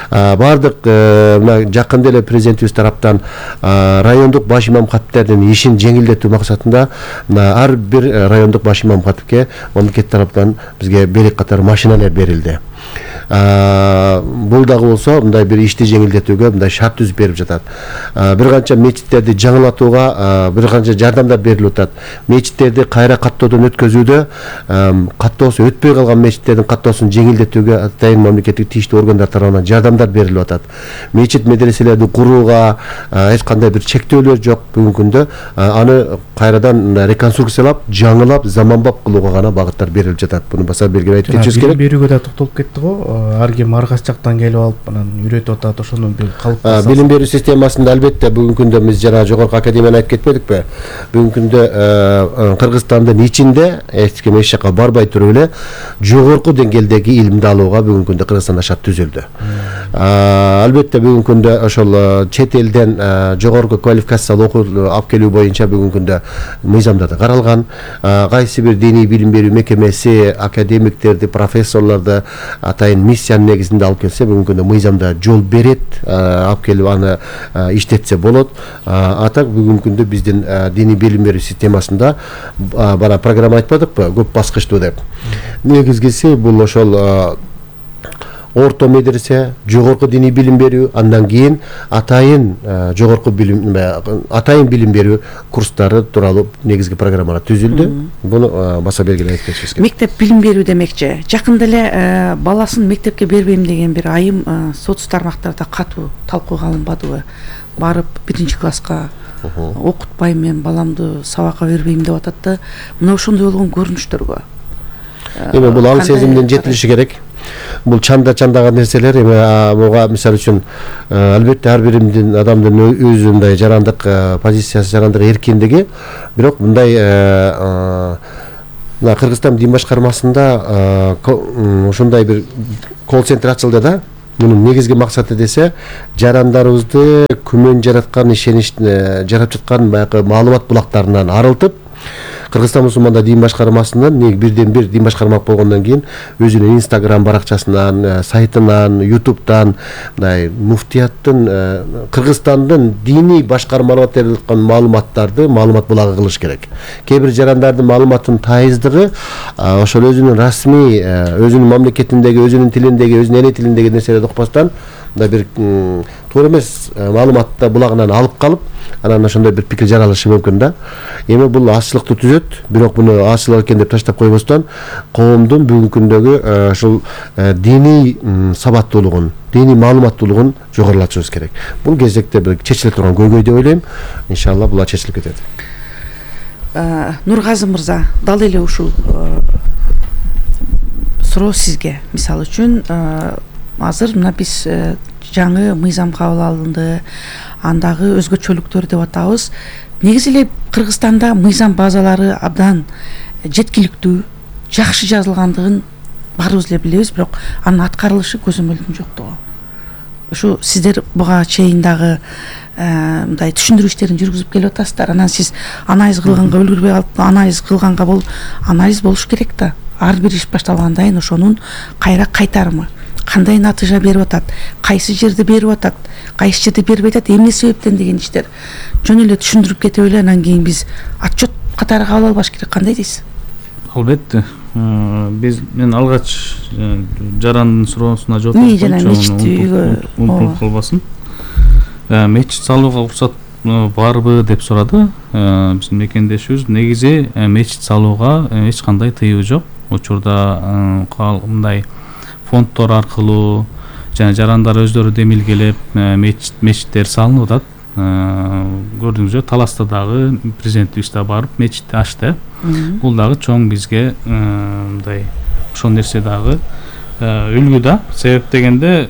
[SPEAKER 6] Баардык мына жакында эле президентибиз тараптан райондук баш имам катиптердин ишин жеңилдетүү максатында ар бир райондук баш имам катипке мамлекет тараптан бизге берек катары машиналар берилди. Бул дагы болсо мындай бир ишти жеңилдетүүгө мындай шарт түзүп берип жатат. Бир канча мечиттерди жаңылатууга бир канча жардамдар берилип атат. Мечиттерди кайра каттоодон өткөзүүдө, каттоосу өтпөй калган мечиттердин каттоосун жеңилдетүүгө атайын мамлекеттик тийиштүү органдар тарабынан жардамдар берилип атат. Мечит медреселерди курууга эч кандай бир чектөөлөр жок. Бүгүнкү күндө аны кайрадан реконструкциялап, жаңылап, заманбап кылууга гана багыттар берилип жатат. Буну баса белгилеп айтып кетишибиз керек.
[SPEAKER 2] Берүүгө да токтолуп кетти го. Ар ким ар кайсы жактан келип алып, анан үйрөтүп атат, ошону бир калыпка.
[SPEAKER 6] Билим берүү системасында албетте бүгүнкү күндө биз жана жогорку академияны айтып кетпедикпи? Бүгүнкү күндө Кыргызстандын ичинде эч ким эч жака барбай туруп эле жогорку деңгээлдеги илимди алууга бүгүнкү күндө Кыргызстанда шарт түзүлдү. Албетте бүгүнкү күндө ошол чет элден жогорку квалификациялуу окуу алып келүү боюнча бүгүнкү күндө мыйзамдарда каралган. Кайсы бир диний билим берүү мекемеси академиктерди, профессорлорду атайын миссиянын негизинде алып келсе, бүгүнкү күндө мыйзамда жол берет, алып келип аны иштетсе болот. Атак бүгүнкү күндө биздин диний билим берүү системасында бара программа айтпадыкпы, көп баскычтуу деп. Негизгиси бул ошол орто медресе, жогорку диний билим берүү, андан кийин атайын жогорку билим, атайын билим берүү курстары тууралуу негизги программалар түзүлдү. Буну баса белгилеп кетишибиз керек.
[SPEAKER 3] Мектеп билим берүү демекчи. Жакында эле баласын мектепке бербейм деген бир айым соц тармактарда катуу талкууга алынбадыбы? Барып биринчи класска окутпайм, мен баламды сабакка бербейм деп атат да. Мына ошондой болгон көрүнүштөргө
[SPEAKER 6] эми бул аң сезимдин жетилиши керек. бул чанда чандаган нерселер эми буга мисалы үчүн албетте ар биримдин адамдын өзү мындай жарандык позициясы, жарандык эркиндиги, бирок мындай мына Кыргызстан дин башкармасында ушундай бир колл центр ачылды да. Мунун негизги максаты десе, жарандарыбызды күмөн жараткан, ишенич жарап жаткан баягы маалымат булактарынан арылтып, Кыргызстан мусулмандар дин башкармасынан бирден бир дин башкармак болгондон кийин өзүнүн Instagram баракчасынан, сайтынан, YouTube'дан мындай муфтияттын Кыргызстандын диний башкармаларына берилген маалыматтарды маалымат булагы кылыш керек. Кээ бир жарандардын маалыматынын тайыздыгы ошол өзүнүн расмий, өзүнүн мамлекетиндеги, өзүнүн тилиндеги, өзүнүн эне тилиндеги нерселерди укпастан мындай бир туура эмес маалыматты булагынан алып калып, анан ошондой бир пикир жаралышы мүмкүн да. Эми бул азчылыкты түзөт, бирок муну азчылык экен деп таштап койбостон, коомдун бүгүнкү күндөгү ушул диний сабаттуулугун, диний маалыматтуулугун жогорулатышыбыз керек. Бул кезекте бир чечиле турган көйгөй деп ойлойм. Иншалла булар чечилип кетет.
[SPEAKER 3] Нургазы мырза, дал эле ушул суроо сизге. Мисалы үчүн, азыр мына биз жаңы мыйзам кабыл алынды, андагы өзгөчөлүктөр деп атабыз. Негизи эле Кыргызстанда мыйзам базалары абдан жеткиликтүү, жакшы жазылгандыгын баарыбыз эле билебиз, бирок анын аткарылышы көзөмөлдүн жоктугу. Ушу сиздер буга чейин дагы мындай түшүндүрүү иштерин жүргүзүп келип атасыздар. Анан сиз анализ кылганга үлгүрбөй калып, анализ кылганга бул анализ болуш керек да. Ар бир иш башталгандан ошонун кайра кайтарымы, кандай натыйжа берип атат, кайсы жерде берип атат, кайсы жерде бербей атат, эмне себептен деген иштер жөн эле түшүндүрүп кетип эле анан кийин биз отчет катары кабыл албаш керек. Кандай дейсиз?
[SPEAKER 4] Албетте. Биз мен алгач жарандын суроосуна жооп
[SPEAKER 3] берип
[SPEAKER 4] унутуп калбасын. Мечит салууга уруксат барбы деп сурады биздин мекендешибиз. Негизи мечит салууга эч кандай тыюу жок. Учурда мындай фонддор аркылуу жана жарандар өздөрү демилгелеп мечиттер салынып атат. Көрдүңүзбү, Таласта дагы президентибиз да барып мечитти ачты. Бул дагы чоң бизге мындай ошол нерсе дагы үлгү да. Себеп дегенде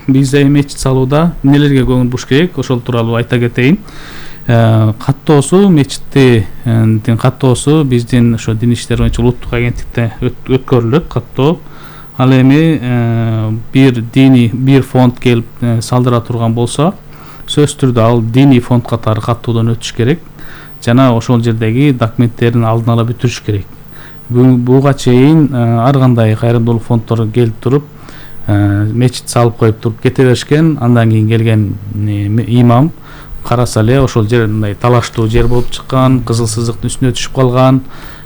[SPEAKER 4] бизде мечит салууда эмнелерге көңүл буруш керек, ошол тууралуу айта кетейин. Каттоосу, мечиттин каттоосу биздин ошо дин иштери боюнча улуттук агенттикте өткөрүлөт каттоо. Ал эми бир дини бир фонд келип салдыра турган болсо, сөзсүз түрдө ал диний фонд катары каттоодон өтүш керек жана ошол жердеги документтерин алдын ала бүтүрүш керек. Буга чейин ар кандай кайрымдуулук фонддору келип туруп мечит салып коюп туруп кете беришкен. Андан кийин келген имам караса эле ошол жер мындай талаштуу жер болуп чыккан, кызыл сызыктын үстүнө түшүп калган.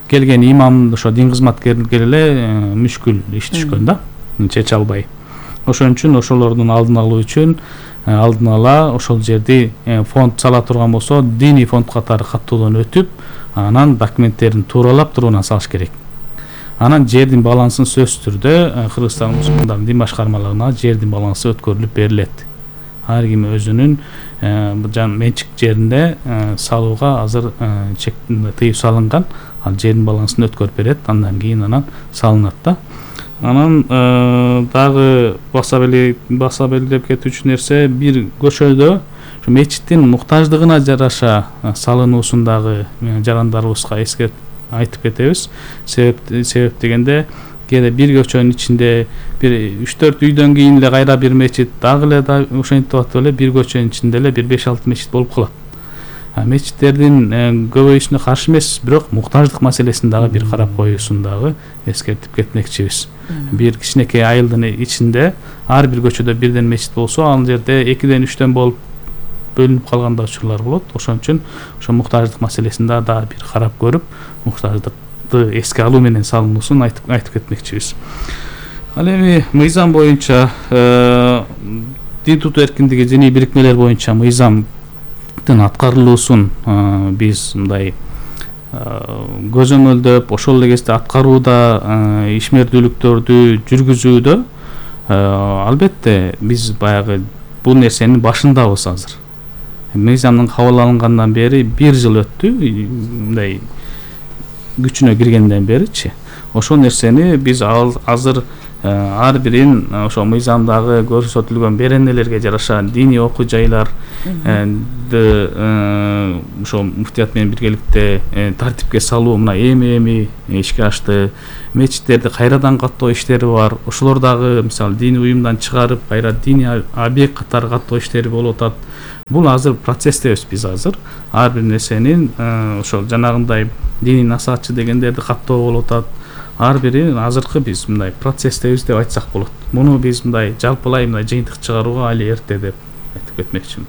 [SPEAKER 4] Келген имам ошо дин кызматкерлерге эле мүшкүл иш түшкөн да, чече албай. Ошон үчүн ошолордун алдын алуу үчүн алдын ала ошол жерди фонд сала турган болсо, диний фонд катары каттоодон өтүп, анан документтерин тууралап туруп салыш керек. Анан жердин балансын сөзсүз түрдө Кыргызстан мусулмандарынын дин башкармалыгына жердин балансы өткөрүлүп берилет. Ар ким өзүнүн жан менчик жеринде салууга азыр чек тыюу салынган, ал жердин балансын өткөрүп берет, андан кийин анан салынат да. Анан дагы баса баса белгилеп кетүүчү нерсе, бир көчөдө мечиттин муктаждыгына жараша салынуусундагы жарандарыбызга эскертип айтып кетебиз. Себеп себеп дегенде кээде бир көчөнүн ичинде бир үч төрт үйдөн кийин эле кайра бир мечит, дагы эле ошентип атып эле бир көчөнүн ичинде эле бир беш алты мечит болуп калат. Мечиттердин көбөйүшүнө каршы эмес, бирок муктаждык маселесин дагы бир карап коюусун дагы эскертип кетмекчибиз. Бир кичинекей айылдын ичинде ар бир көчөдө бирден мечит болсо, ал жерде экиден үчтөн болуп бөлүнүп калган да учурлар болот. Ошон үчүн ошо муктаждык маселесин дагы бир карап көрүп, муктаждыкты эске алуу менен салынуусун айтып айтып кетмекчибиз. Ал эми мыйзам боюнча дин тутуу эркиндиги диний бирикмелер боюнча мыйзам аткарылуусун биз мындай көзөмөлдөп, ошол эле кезде аткарууда ишмердүүлүктөрдү жүргүзүүдө албетте биз баягы бул нерсенин башындабыз азыр. Мыйзамдын кабыл алынгандан бери бир жыл өттү, мындай күчүнө киргенден беричи. Ошол нерсени биз азыр ар бирин ошо мыйзамдагы көрсөтүлгөн беренелерге жараша диний окуу жайларды ошо муфтият менен биргеликте тартипке салуу мына эми эми ишке ашты. Мечиттерди кайрадан каттоо иштери бар. Ошолор дагы мисалы диний уюмдан чыгарып кайра диний объект катары каттоо иштери болуп атат. Бул азыр процесстебиз биз азыр. Ар бир нерсенин ошол жанагындай диний насаатчы дегендерди каттоо болуп атат. Ар бири азыркы биз мындай процесстебиз деп айтсак болот. Муну биз мындай жалпылай мындай жыйынтык чыгарууга али эрте деп айтып кетмекчимин.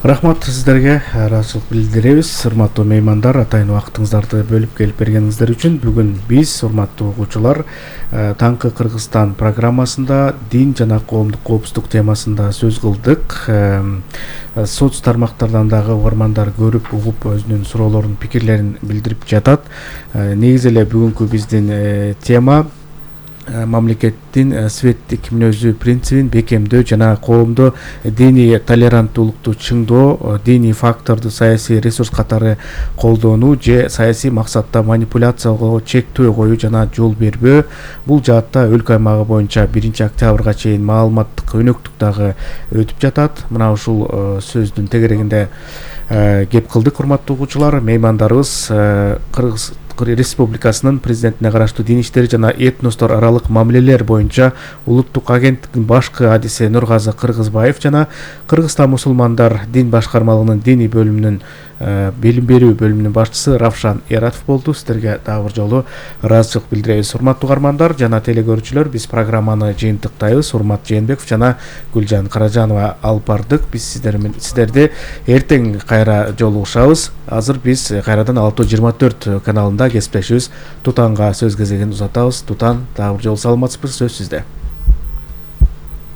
[SPEAKER 2] Рахмат сиздерге, ыраазычылык билдиребиз. Урматтуу меймандар, атайын убактыңыздарды бөлүп келип бергениңиздер үчүн бүгүн биз, урматтуу угуучулар, Таңкы Кыргызстан программасында дин жана коомдук коопсуздук темасында сөз кылдык. Соц тармактардан дагы угармандар көрүп, угуп, өзүнүн суроолорун, пикирлерин билдирип жатат. Негизи эле бүгүнкү биздин тема мамлекеттин светтик мүнөзү принцибин бекемдөө жана коомдо диний толеранттуулукту чыңдоо, диний факторду саясий ресурс катары колдонуу же саясий максатта манипуляцияга чектөө коюу жана жол бербөө. Бул жаатта өлкө аймагы боюнча биринчи октябрга чейин маалыматтык өнөктүк дагы өтүп жатат. Мына ушул сөздүн тегерегинде кеп кылдык, урматтуу угуучулар. Меймандарыбыз Кыргыз Республикасынын президентине караштуу дин иштери жана этностор аралык мамилелер боюнча улуттук агенттиктин башкы адиси Нургазы Кыргызбаев жана Кыргызстан мусулмандар дин башкармалыгынын диний бөлүмүнүн билим берүү бөлүмүнүн башчысы Равшан Эратов болду. Сиздерге дагы бир жолу ыраазычылык билдиребиз. Урматтуу угармандар жана телекөрүүчүлөр, биз программаны жыйынтыктайбыз. Урмат Жээнбеков жана Гүлжан Каражанова алып бардык. Биз сиздер сиздерди эртең кайра жолугушабыз. Азыр биз кайрадан Алтоо жыйырма төрт каналында кесиптешибиз Тутанга сөз кезегин узатабыз. Тутан, дагы бир жолу саламатсызбы? Сөз сизде.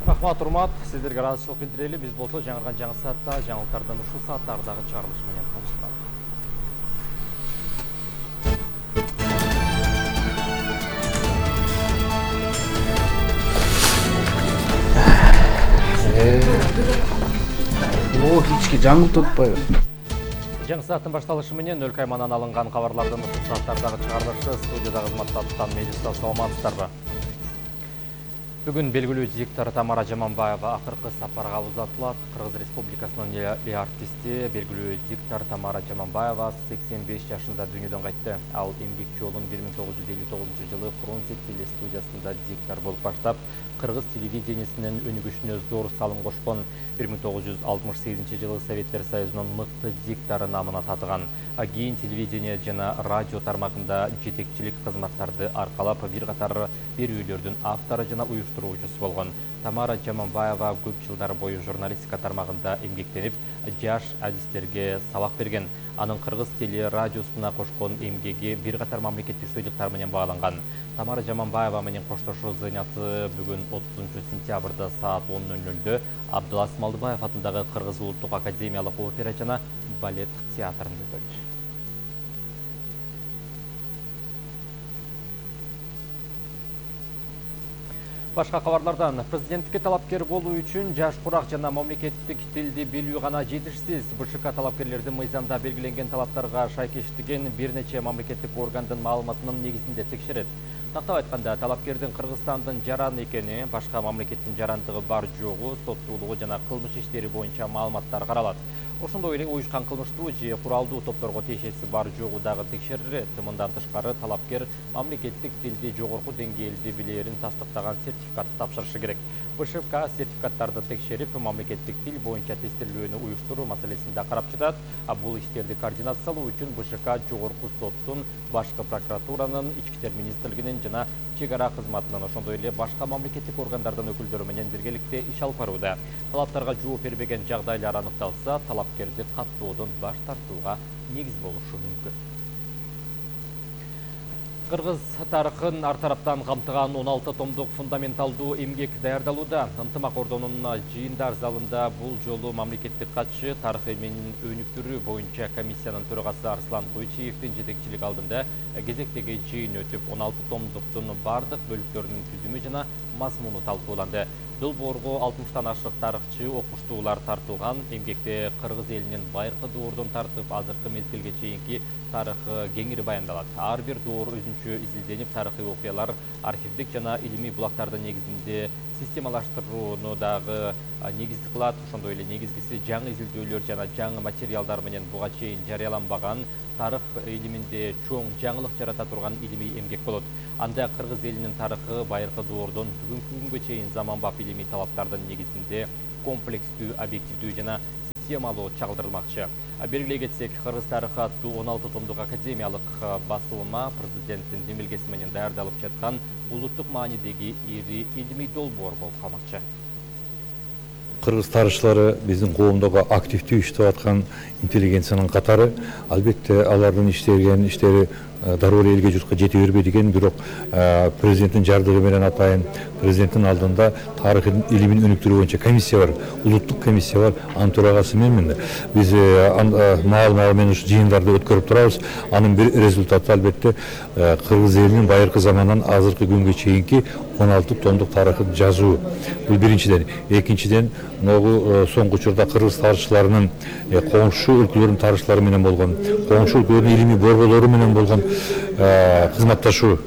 [SPEAKER 9] Рахмат, урмат, сиздерге ыраазычылык билдирели. Биз болсо жаңырган жаңы саатта жаңылыктардан ушул сааттардагы чыгарылыш менен калыштабыз.
[SPEAKER 2] О, кички жаңылтып атпайбы?
[SPEAKER 9] Жаңы сааттын башталышы менен өлкө аймагынан алынган кабарлардын ушул сааттардагы чыгарылышы студияда кызматта Тутан медиа саламатсыздарбы? Бүгүн белгилүү диктор Тамара Жаманбаева акыркы сапарга узатылат. Кыргыз Республикасынын эле артисти, белгилүү диктор Тамара Жаманбаева сексен беш жашында дүйнөдөн кайтты. Ал эмгек жолун бир миң тогуз жүз элүү тогузунчу жылы Фрунзе телестудиясында диктор болуп баштап, кыргыз телевидениесинин өнүгүшүнө зор салым кошкон. бир миң тогуз жүз алтымыш сегизинчи жылы Советтер Союзунун мыкты диктору намына татыган. Кийин телевидение жана радио тармагында жетекчилик кызматтарды аркалап, бир катар берүүлөрдүн автору жана уюштуруучусу болгон. Тамара Жаманбаева көп жылдар бою журналистика тармагында эмгектенип, жаш адистерге сабак берген. Анын кыргыз теле радиосуна кошкон эмгеги бир катар мамлекеттик сыйлыктар менен бааланган. Тамара Жаманбаева менен коштошуу зыйнаты бүгүн отузунчу сентябрда саат он ноль нольдө Абдулас Малдыбаев атындагы Кыргыз улуттук академиялык опера жана балет театрында өтөт. Башка кабарлардан президенттикке талапкер болуу үчүн жаш курак жана мамлекеттик тилди билүү гана жетишсиз. БШК талапкерлердин мыйзамда белгиленген талаптарга шайкештиген бир нече мамлекеттик органдын маалыматынын негизинде текшерет. Тактап айтканда, талапкердин Кыргызстандын жаран экени, башка мамлекеттин жарандыгы бар жогу, соттуулугу жана кылмыш иштери боюнча маалыматтар каралат. Ошондой эле уюшкан кылмыштуу же куралдуу топторго тиешеси бар жогу дагы текшерилет. Мындан тышкары талапкер мамлекеттик тилди жогорку деңгээлде билээрин тастыктаган сертификатты тапшырышы керек. БШК сертификаттарды текшерип, мамлекеттик тил боюнча тестелөөнү уюштуруу маселесин да карап жатат. А бул иштерди координациялоо үчүн БШК жогорку соттун, башкы прокуратуранын, ички иштер министрлигинин жана чек ара кызматынын, ошондой эле башка мамлекеттик органдардын өкүлдөрү менен биргеликте иш алып барууда. Талаптарга жооп бербеген жагдайлар аныкталса, талапкерди каттоодон баш тартууга негиз болушу мүмкүн. Кыргыз тарыхын ар тараптан камтыган он алты томдук фундаменталдуу эмгек даярдалууда. Ынтымак ордонун жыйындар залында бул жолу мамлекеттик катчы тарых эмгегин өнүктүрүү боюнча комиссиянын төрагасы Арслан Тойчиевдин жетекчилиги алдында кезектеги жыйын өтүп, он алты томдуктун бардык бөлүктөрүнүн түзүмү жана мазмуну талкууланды. Долбоорго алтымыштан ашык тарыхчы, окуштуулар тартылган. Эмгекте кыргыз элинин байыркы доордон тартып азыркы мезгилге чейинки тарыхы кеңири баяндалат. Ар бир доор өзүнчө изилденип, тарыхый окуялар архивдик жана илимий булактардын негизинде системалаштырууну дагы негиз кылат. Ошондой эле негизгиси жаңы изилдөөлөр жана жаңы материалдар менен буга чейин жарыяланбаган тарых илиминде чоң жаңылык жарата турган илимий эмгек болот. Анда кыргыз элинин тарыхы байыркы доордон бүгүнкү күнгө чейин заманбап илимий талаптардын негизинде комплекстүү, объективдүү жана системалуу чагылдырылмакчы. Белгилей кетсек, Кыргыз тарыхы аттуу он алты томдук академиялык басылма президенттин демилгеси менен даярдалып жаткан улуттук маанидеги ири илимий долбоор болуп калмакчы.
[SPEAKER 10] Кыргыз тарыхчылары биздин коомдогу активдүү иштеп аткан интеллигенциянын катары. Албетте алардын иштеген иштери дароо эле элге журтка жете бербейт экен, бирок президенттин жардыгы менен атайын президенттин алдында тарых илимин өнүктүрүү боюнча комиссия бар, улуттук комиссия бар, анын төрагасы менмин. Биз маал-маал менен ушу жыйындарды өткөрүп турабыз. Анын бир результаты албетте кыргыз элинин байыркы замандан азыркы күнгө чейинки он алты томдук тарыхын жазуу. Бул биринчиден. Экинчиден, могу соңку учурда кыргыз тарыхчыларынын коңшу өлкөлөрдүн тарыхчылары менен болгон, коңшу өлкөлөрдүн илимий борборлору менен болгон кызматташуу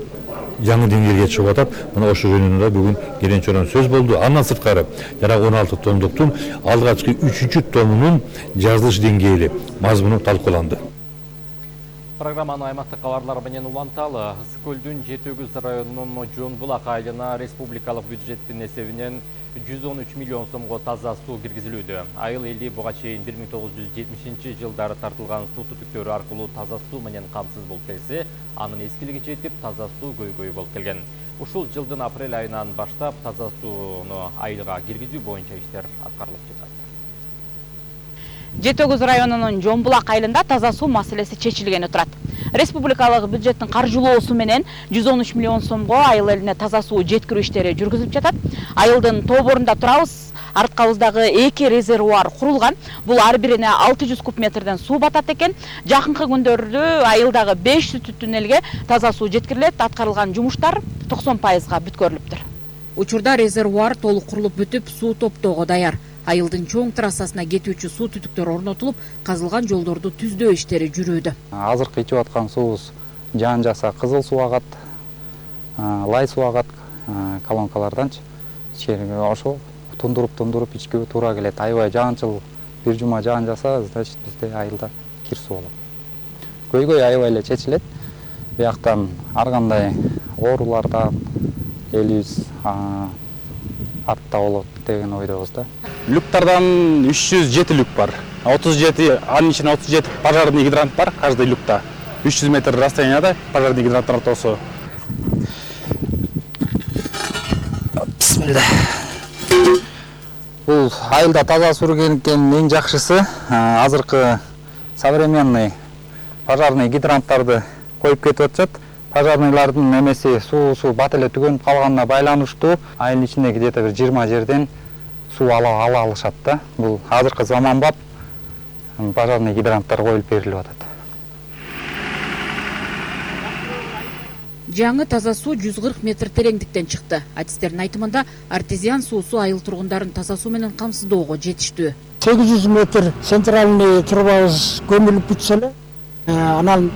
[SPEAKER 10] жаңы деңгээлге чыгып атат. Мына ошол жөнүндө бүгүн келен чорон сөз болду. Андан сырткары жана он алты томдуктун алгачкы үчүнчү томунун жазылыш деңгээли, мазмуну талкууланды.
[SPEAKER 9] Программаны аймактык кабарлар менен уланталы. Ысык көлдүн Жети Өгүз районунун Жон Булак айылына республикалык бюджеттин эсебинен жүз он үч миллион сомго таза суу киргизилүүдө. Айыл эли буга чейин бир миң тогуз жүз жетимишинчи жылдары тартылган суу түтүктөрү аркылуу таза суу менен камсыз болуп келсе, анын эскилиги жетип, таза суу көйгөйү болуп келген. Ушул жылдын апрель айынан баштап таза сууну айылга киргизүү боюнча иштер аткарылып жатат.
[SPEAKER 11] Жети Өгүз районунун Жон Булак айылында таза суу маселеси чечилгени турат. Республикалык бюджеттин каржылоосу менен жүз он үч миллион сомго айыл элине таза суу жеткирүү иштери жүргүзүлүп жатат. Айылдын тоборунда турабыз. Арткабыздагы эки резервуар курулган. Бул ар бирине алты жүз куб метрден суу батат экен. Жакынкы күндөрдө айылдагы беш жүз түтүн элге таза суу жеткирилет. Аткарылган жумуштар токсон пайызга бүткөрүлүптүр. Учурда резервуар толук курулуп бүтүп, суу топтоого даяр. Айылдын чоң трассасына кетүүчү суу түтүктөр орнотулуп, казылган жолдорду түздөө иштери жүрүүдө.
[SPEAKER 12] Азыркы ичип аткан суубуз жаан жакса кызыл суу агат, лай суу агат колонкаларданчы. Ошол тундуруп-тундуруп ичкебе туура келет. Аябай жаанчыл бир жума жаан жаса, значит бизде айылда кир суу болот. Көйгөй аябай эле чечилет. Бияктан ар кандай оорулардан элибиз артта болот деген ойдобуз да.
[SPEAKER 13] Люктардан үч жүз жети люк бар. отуз жети, анын ичинде отуз жети пожарный гидрант бар, каждый люкта. үч жүз метр расстоянияда пожарный гидранттар ортосу.
[SPEAKER 12] Бисмилла. Бул айылда таза суу киргизгендин эң жакшысы азыркы современный пожарный гидранттарды коюп кетип атышат. Пожарныйлардын эмеси суусу бат эле түгөнүп калганына байланыштуу айыл ичиндеги где-то бир жыйырма жерден суу ала ала алышат да. Бул азыркы заманбап пожарный гидранттар коюлуп берилип атат.
[SPEAKER 11] Жаңы таза суу жүз кырк метр тереңдиктен чыкты. Артисттердин айтымында артезиан суусу айыл тургундарын таза суу менен камсыздоого жетиштүү.
[SPEAKER 14] сегиз жүз метр центральный трубабыз көмүлүп бүтсө эле, анан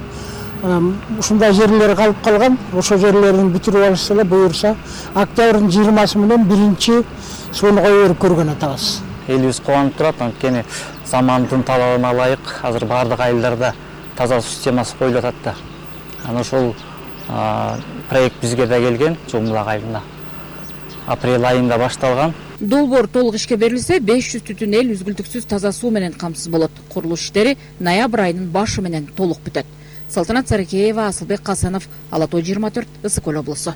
[SPEAKER 14] ушундай жерлер калып калган. Ошол жерлерин бүтүрүп алышса эле буюрса октябрдын жыйырмасы менен биринчи сууну кое берип көргөн атабыз.
[SPEAKER 12] Элибиз кубанып турат, анткени замандын талабына ылайык азыр бардык айылдарда таза суу системасы коюлуп атат да. Анан ошол проект бизге да келген, Жон Булак айылында. Апрель айында башталган.
[SPEAKER 11] Долбоор толук ишке берилсе, беш жүз түтүн эл үзгүлтүксүз таза суу менен камсыз болот. Курулуш иштери ноябрь айынын башы менен толук бүтөт. Салтанат Сарыкеева, Асылбек Касанов, Ала Тоо жыйырма төрт, Ысык Көл облусу.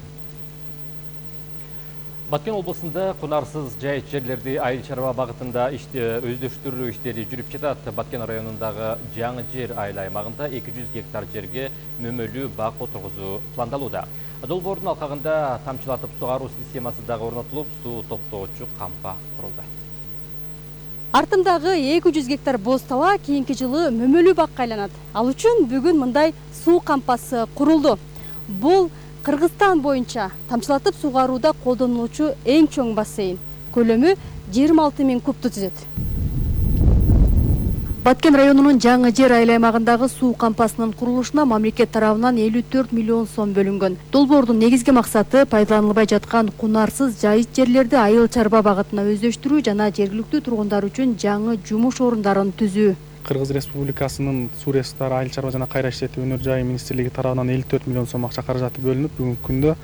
[SPEAKER 9] Баткен облусунда кунарсыз жайыт жерлерди айыл чарба багытында өздөштүрүү иштери жүрүп жатат. Баткен районундагы жаңы жер айыл аймагында эки жүз гектар жерге мөмөлүү бак отургузуу пландалууда. Долбоордун алкагында тамчылатып сугаруу системасы дагы орнотулуп, суу топтоочу кампа курулду.
[SPEAKER 15] Артымдагы эки жүз гектар боз тала кийинки жылы мөмөлүү бакка айланат. Ал үчүн бүгүн мындай суу кампасы курулду. Бул Кыргызстан боюнча тамчылатып сугарууда колдонулуучу эң чоң бассейн. көлөмү жыйырма алты миң кубту түзөт. Баткен районунун Жаңы Жер айыл аймагындагы суу кампасынын курулушуна мамлекет тарабынан элүү төрт миллион сом бөлүнгөн. Долбоордун негизги максаты пайдаланылбай жаткан кунарсыз жайыт жерлерди айыл чарба багытына өздөштүрүү жана жергиликтүү тургундар үчүн жаңы жумуш орундарын түзүү.
[SPEAKER 16] Кыргыз Республикасынын суу ресурстары айыл чарба жана кайра иштетүү өнөр жайы министрлиги тарабынан элүү төрт миллион сом акча каражаты бөлүнүп, бүгүнкү күндө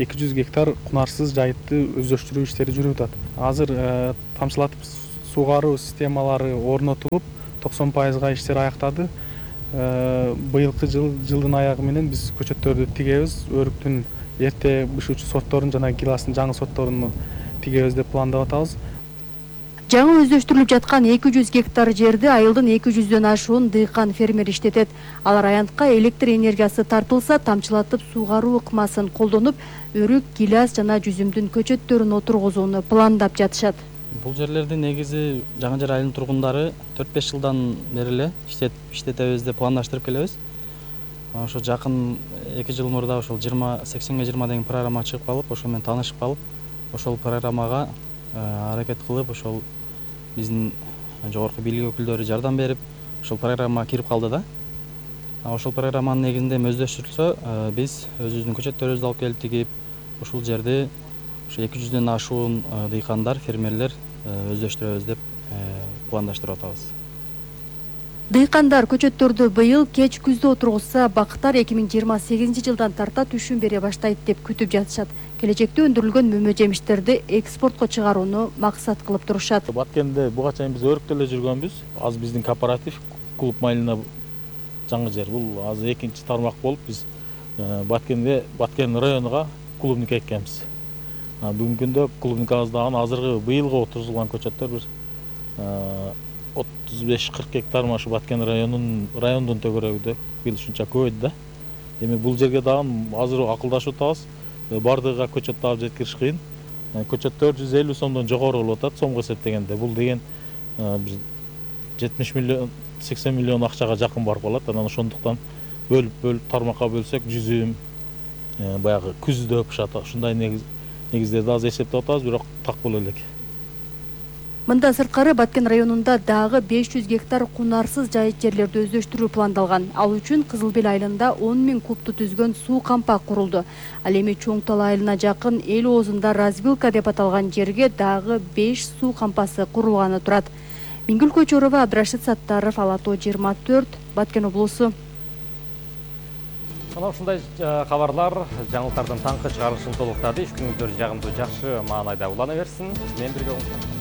[SPEAKER 16] эки жүз гектар кунарсыз жайытты өздөштүрүү иштери жүрүп атат. Азыр тамчылатып суугаруу системалары орнотулуп, токсон пайызга иштер аяктады. Быйылкы жыл жылдын аягы менен биз көчөттөрдү тигебиз. Өрүктүн эрте бышуучу сортторун жана гиластын жаңы сортторун тигебиз деп пландап атабыз.
[SPEAKER 15] Жаңы өздөштүрүлүп жаткан эки жүз гектар жерди айылдын эки жүздөн ашуун дыйкан фермер иштетет. Алар аянтка электр энергиясы тартылса, тамчылатып суугаруу ыкмасын колдонуп, өрүк, гилас жана жүзүмдүн көчөттөрүн отургузууну пландап жатышат.
[SPEAKER 12] Бул жерлерди негизи Жаңы Жер айылынын тургундары төрт беш жылдан бери эле иштетебиз деп пландаштырып келебиз. Ошо жакын эки жыл мурда ошол жыйырма сексенге жыйырма деген программа чыгып калып, ошол менен таанышып калып, ошол программага аракет кылып, ошол биздин жогорку бийлик өкүлдөрү жардам берип, ошол программага кирип калды да. Ошол программанын негизинде өздөштүрүлсө, биз өзүбүздүн көчөттөрүбүздү алып келип тигип, ушул жерди ошо эки жүздөн ашуун дыйкандар, фермерлер өздөштүрөбүз деп пландаштырып атабыз.
[SPEAKER 15] Дыйкандар көчөттөрдү быйыл кеч күздө отургузса, бактар эки миң жыйырма сегизинчи жылдан тарта түшүм бере баштайт деп күтүп жатышат. Келечекте өндүрүлгөн мөмө жемиштерди экспортко чыгарууну максат кылып турушат.
[SPEAKER 17] Баткенде буга чейин биз өрүктө эле жүргөнбүз. Азыр биздин кооператив клуб Малина Жаңы Жер. Бул азыр экинчи тармак болуп биз Баткенде Баткен районуга клубник эккенбиз. Бүгүнкү күндө клубникабыздагы азыркы быйылга отургузулган көчөттөр бир отуз беш кырк гектар машы Баткен районунун райондун төгөрөгүдө быйыл ушунча көбөйдү да. Эми бул жерге дагы азыр акылдашып атабыз. Бардыгыга көчөт алып жеткириш кыйын. Көчөттөр жүз элүү сомдон жогору болуп атат сомго эсептегенде. Бул деген бир жетимиш миллион сексен миллион акчага жакын барып калат. Анан ошондуктан бөлүп бөлүп тармакка бөлсөк жүзүм баягы күздө пышат. Ушундай негиздерди азыр эсептеп атабыз, бирок так боло элек.
[SPEAKER 15] Мындан сырткары Баткен районунда дагы беш жүз гектар кунарсыз жайыт жерлерди өздөштүрүү пландалган. Ал үчүн Кызыл Бел айылында он миң кубту түзгөн суу кампа курулду. Ал эми Чоң Тал айылына жакын эл оозунда развилка деп аталган жерге дагы беш суу кампасы курулганы турат. Мингүл Көчөрова, Абдрашид Саттаров, Алато жыйырма төрт, Баткен облусу.
[SPEAKER 9] Ana ушундай кабарлар жаңылыктардын таңкы чыгарылышын толуктады. Иш күнүңүздөр жагымдуу, жакшы маанайда улана берсин. Менен бирге болуңуздар.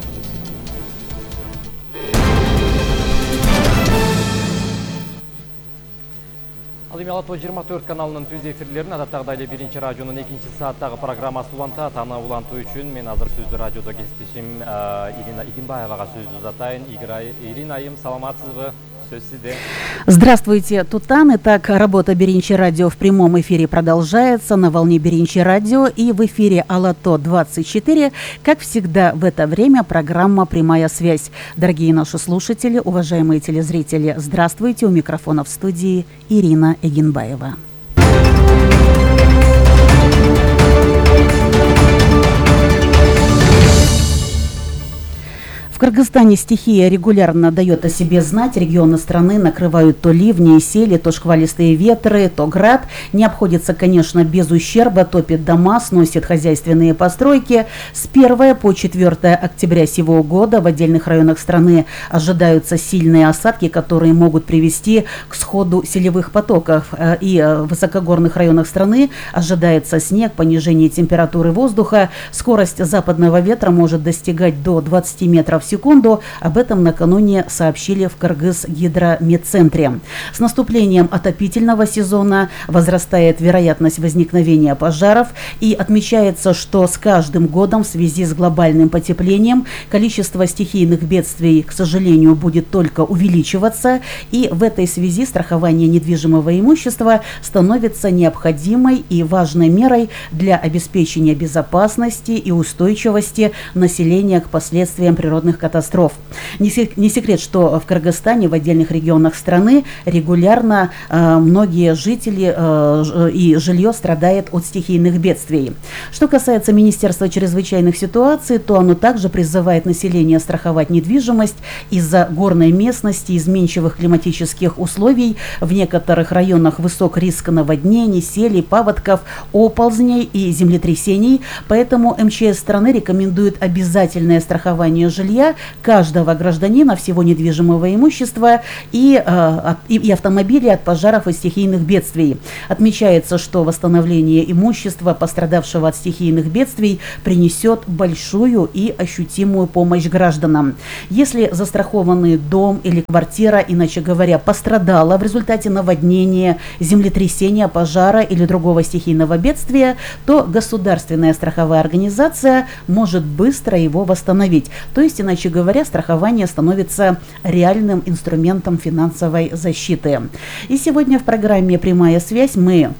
[SPEAKER 9] Ал эми Алато жыйырма төрт каналынын түз эфирлерин адаттагыдай эле биринчи радионун экинчи сааттагы программасы улантат. Аны улантуу үчүн мен азыр сөздү радиодо кесиптешим Ирина Игинбаевага сөздү узатайын. Ирина айым, саламатсызбы?
[SPEAKER 18] Здравствуйте, Тутан. Итак, работа Биринчи радио в прямом эфире продолжается на волне Биринчи радио и в эфире Алато двадцать четыре. Как всегда в это время программа «Прямая связь». Дорогие наши слушатели, уважаемые телезрители, здравствуйте. У микрофона в студии Ирина Эгинбаева. В Кыргызстане стихия регулярно дает о себе знать. Регионы страны накрывают то ливни и сели, то шквалистые ветры, то град. Не обходится, конечно, без ущерба. Топит дома, сносит хозяйственные постройки. С первого по четвёртое октября сего года в отдельных районах страны ожидаются сильные осадки, которые могут привести к сходу селевых потоков. И в высокогорных районах страны ожидается снег, понижение температуры воздуха. Скорость западного ветра может достигать до двадцати метров в секунду. Об этом накануне сообщили в Кыргызгидрометцентре. С наступлением отопительного сезона возрастает вероятность возникновения пожаров, и отмечается, что с каждым годом в связи с глобальным потеплением количество стихийных бедствий, к сожалению, будет только увеличиваться, и в этой связи страхование недвижимого имущества становится необходимой и важной мерой для обеспечения безопасности и устойчивости населения к последствиям природных природных катастроф. Не секрет, что в Кыргызстане, в отдельных регионах страны регулярно э, многие жители э, и жилье страдает от стихийных бедствий. Что касается Министерства чрезвычайных ситуаций, то оно также призывает население страховать недвижимость из-за горной местности, изменчивых климатических условий. В некоторых районах высок риск наводнений, селей, паводков, оползней и землетрясений. Поэтому эм че эс страны рекомендует обязательное страхование жилья каждого гражданина, всего недвижимого имущества и, э, и, и автомобилей от пожаров и стихийных бедствий. Отмечается, что восстановление имущества, пострадавшего от стихийных бедствий, принесет большую и ощутимую помощь гражданам. Если застрахованный дом или квартира, иначе говоря, пострадала в результате наводнения, землетрясения, пожара или другого стихийного бедствия, то государственная страховая организация может быстро его восстановить. То есть, иначе говоря, страхование становится реальным инструментом финансовой защиты. И сегодня в программе «Прямая связь» мы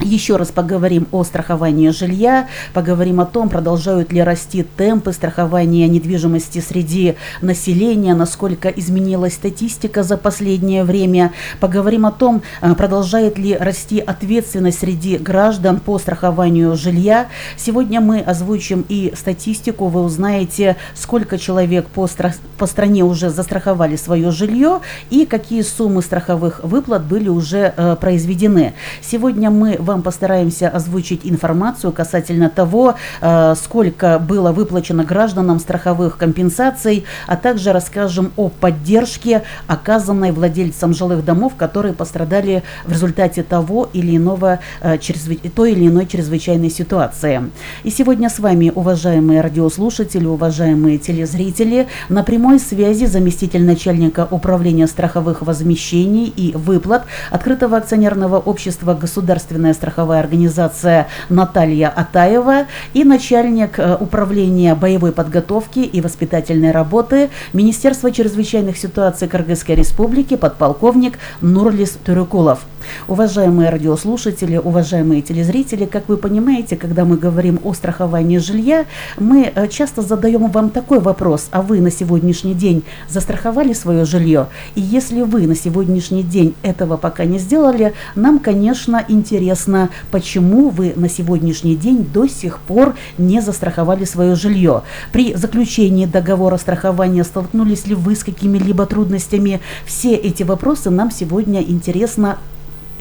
[SPEAKER 18] еще раз поговорим о страховании жилья, поговорим о том, продолжают ли расти темпы страхования недвижимости среди населения, насколько изменилась статистика за последнее время, поговорим о том, продолжает ли расти ответственность среди граждан по страхованию жилья. Сегодня мы озвучим и статистику, вы узнаете, сколько человек по, стра- по стране уже застраховали свое жилье и какие суммы страховых выплат были уже э, произведены. Сегодня мы вам постараемся озвучить информацию касательно того, э, сколько было выплачено гражданам страховых компенсаций, а также расскажем о поддержке, оказанной владельцам жилых домов, которые пострадали в результате того или иного, э, чрезвы... той или иной чрезвычайной ситуации. И сегодня с вами, уважаемые радиослушатели, уважаемые телезрители, на прямой связи заместитель начальника управления страховых возмещений и выплат открытого акционерного общества «Государственная страховая организация» Наталья Атаева и начальник управления боевой подготовки и воспитательной работы Министерства чрезвычайных ситуаций Кыргызской Республики подполковник Нурлис Турукулов. Уважаемые радиослушатели, уважаемые телезрители, как вы понимаете, когда мы говорим о страховании жилья, мы часто задаем вам такой вопрос: а вы на сегодняшний день застраховали свое жилье? И если вы на сегодняшний день этого пока не сделали, нам, конечно, интересно, почему вы на сегодняшний день до сих пор не застраховали свое жилье. При заключении договора страхования столкнулись ли вы с какими-либо трудностями? Все эти вопросы нам сегодня интересно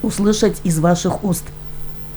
[SPEAKER 18] услышать из ваших уст.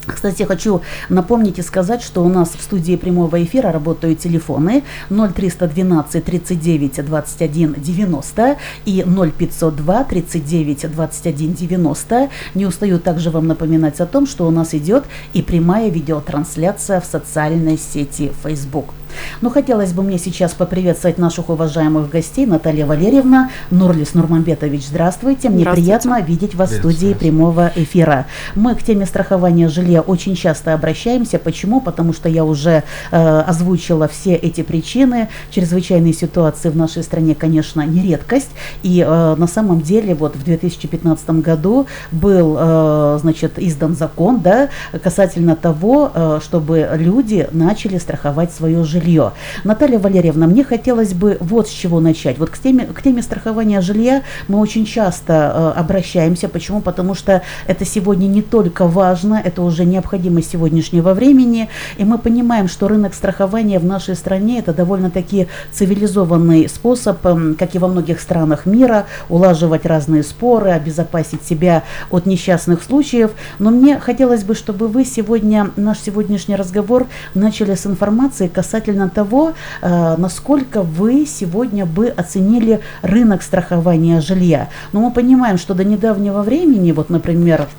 [SPEAKER 18] Кстати, хочу напомнить и сказать, что у нас в студии прямого эфира работают телефоны ноль триста двенадцать тридцать девять двадцать один девяносто и ноль пятьсот два тридцать девять двадцать один девяносто. Не устаю также вам напоминать о том, что у нас идет и прямая видеотрансляция в социальной сети Facebook. Но хотелось бы мне сейчас поприветствовать наших уважаемых гостей. Наталья Валерьевна, Нурлис Нурманбетович, здравствуйте. Мне приятно видеть вас в студии прямого эфира. Мы к теме страхования жилья очень часто обращаемся. Почему? Потому что я уже э, озвучила все эти причины. Чрезвычайные ситуации в нашей стране, конечно, не редкость. И э, на самом деле вот в две тысячи пятнадцатом году был э, значит, издан закон, да, касательно того, э, чтобы люди начали страховать свое жилье. Жилье. Наталья Валерьевна, мне хотелось бы вот с чего начать. Вот к теме, к теме страхования жилья мы очень часто э, обращаемся. Почему? Потому что это сегодня не только важно, это уже необходимость сегодняшнего времени. И мы понимаем, что рынок страхования в нашей стране это довольно-таки цивилизованный способ, э, как и во многих странах мира, улаживать разные споры, обезопасить себя от несчастных случаев. Но мне хотелось бы, чтобы вы сегодня, наш сегодняшний разговор начали с информации касательно того, э, насколько вы сегодня бы оценили рынок страхования жилья. Но мы понимаем, что до недавнего времени, вот, например,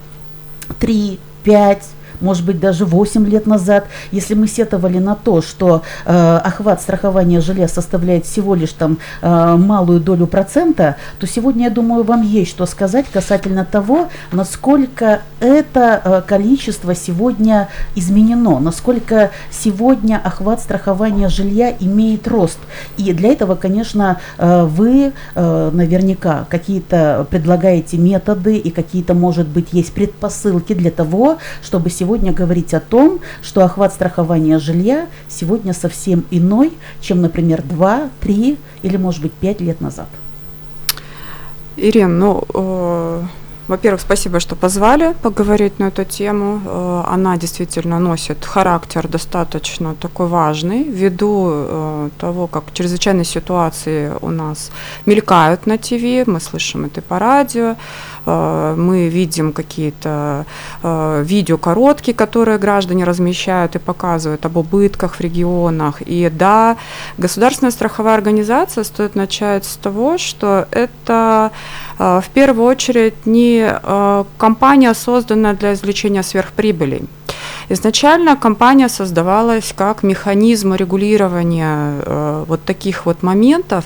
[SPEAKER 18] три, пять, может быть, даже восемь лет назад, если мы сетовали на то, что э, охват страхования жилья составляет всего лишь там э, малую долю процента, то сегодня, я думаю, вам есть что сказать касательно того, насколько это э, количество сегодня изменено, насколько сегодня охват страхования жилья имеет рост. И для этого, конечно, э, вы э, наверняка какие-то предлагаете методы и какие-то, может быть, есть предпосылки для того, чтобы сегодня сегодня говорить о том, что охват страхования жилья сегодня совсем иной, чем, например, два, три или, может быть, пять лет назад?
[SPEAKER 19] Ирина, ну, э, во-первых, спасибо, что позвали поговорить на эту тему. Э, она действительно носит характер достаточно такой важный, ввиду э, того, как чрезвычайные ситуации у нас мелькают на ТВ, мы слышим это по радио, э, мы видим какие-то э, видео короткие, которые граждане размещают и показывают об убытках в регионах. И да, государственная страховая организация, стоит начать с того, что это э, в первую очередь не компания, созданная для извлечения сверхприбылей. Изначально компания создавалась как механизм регулирования э, вот таких вот моментов,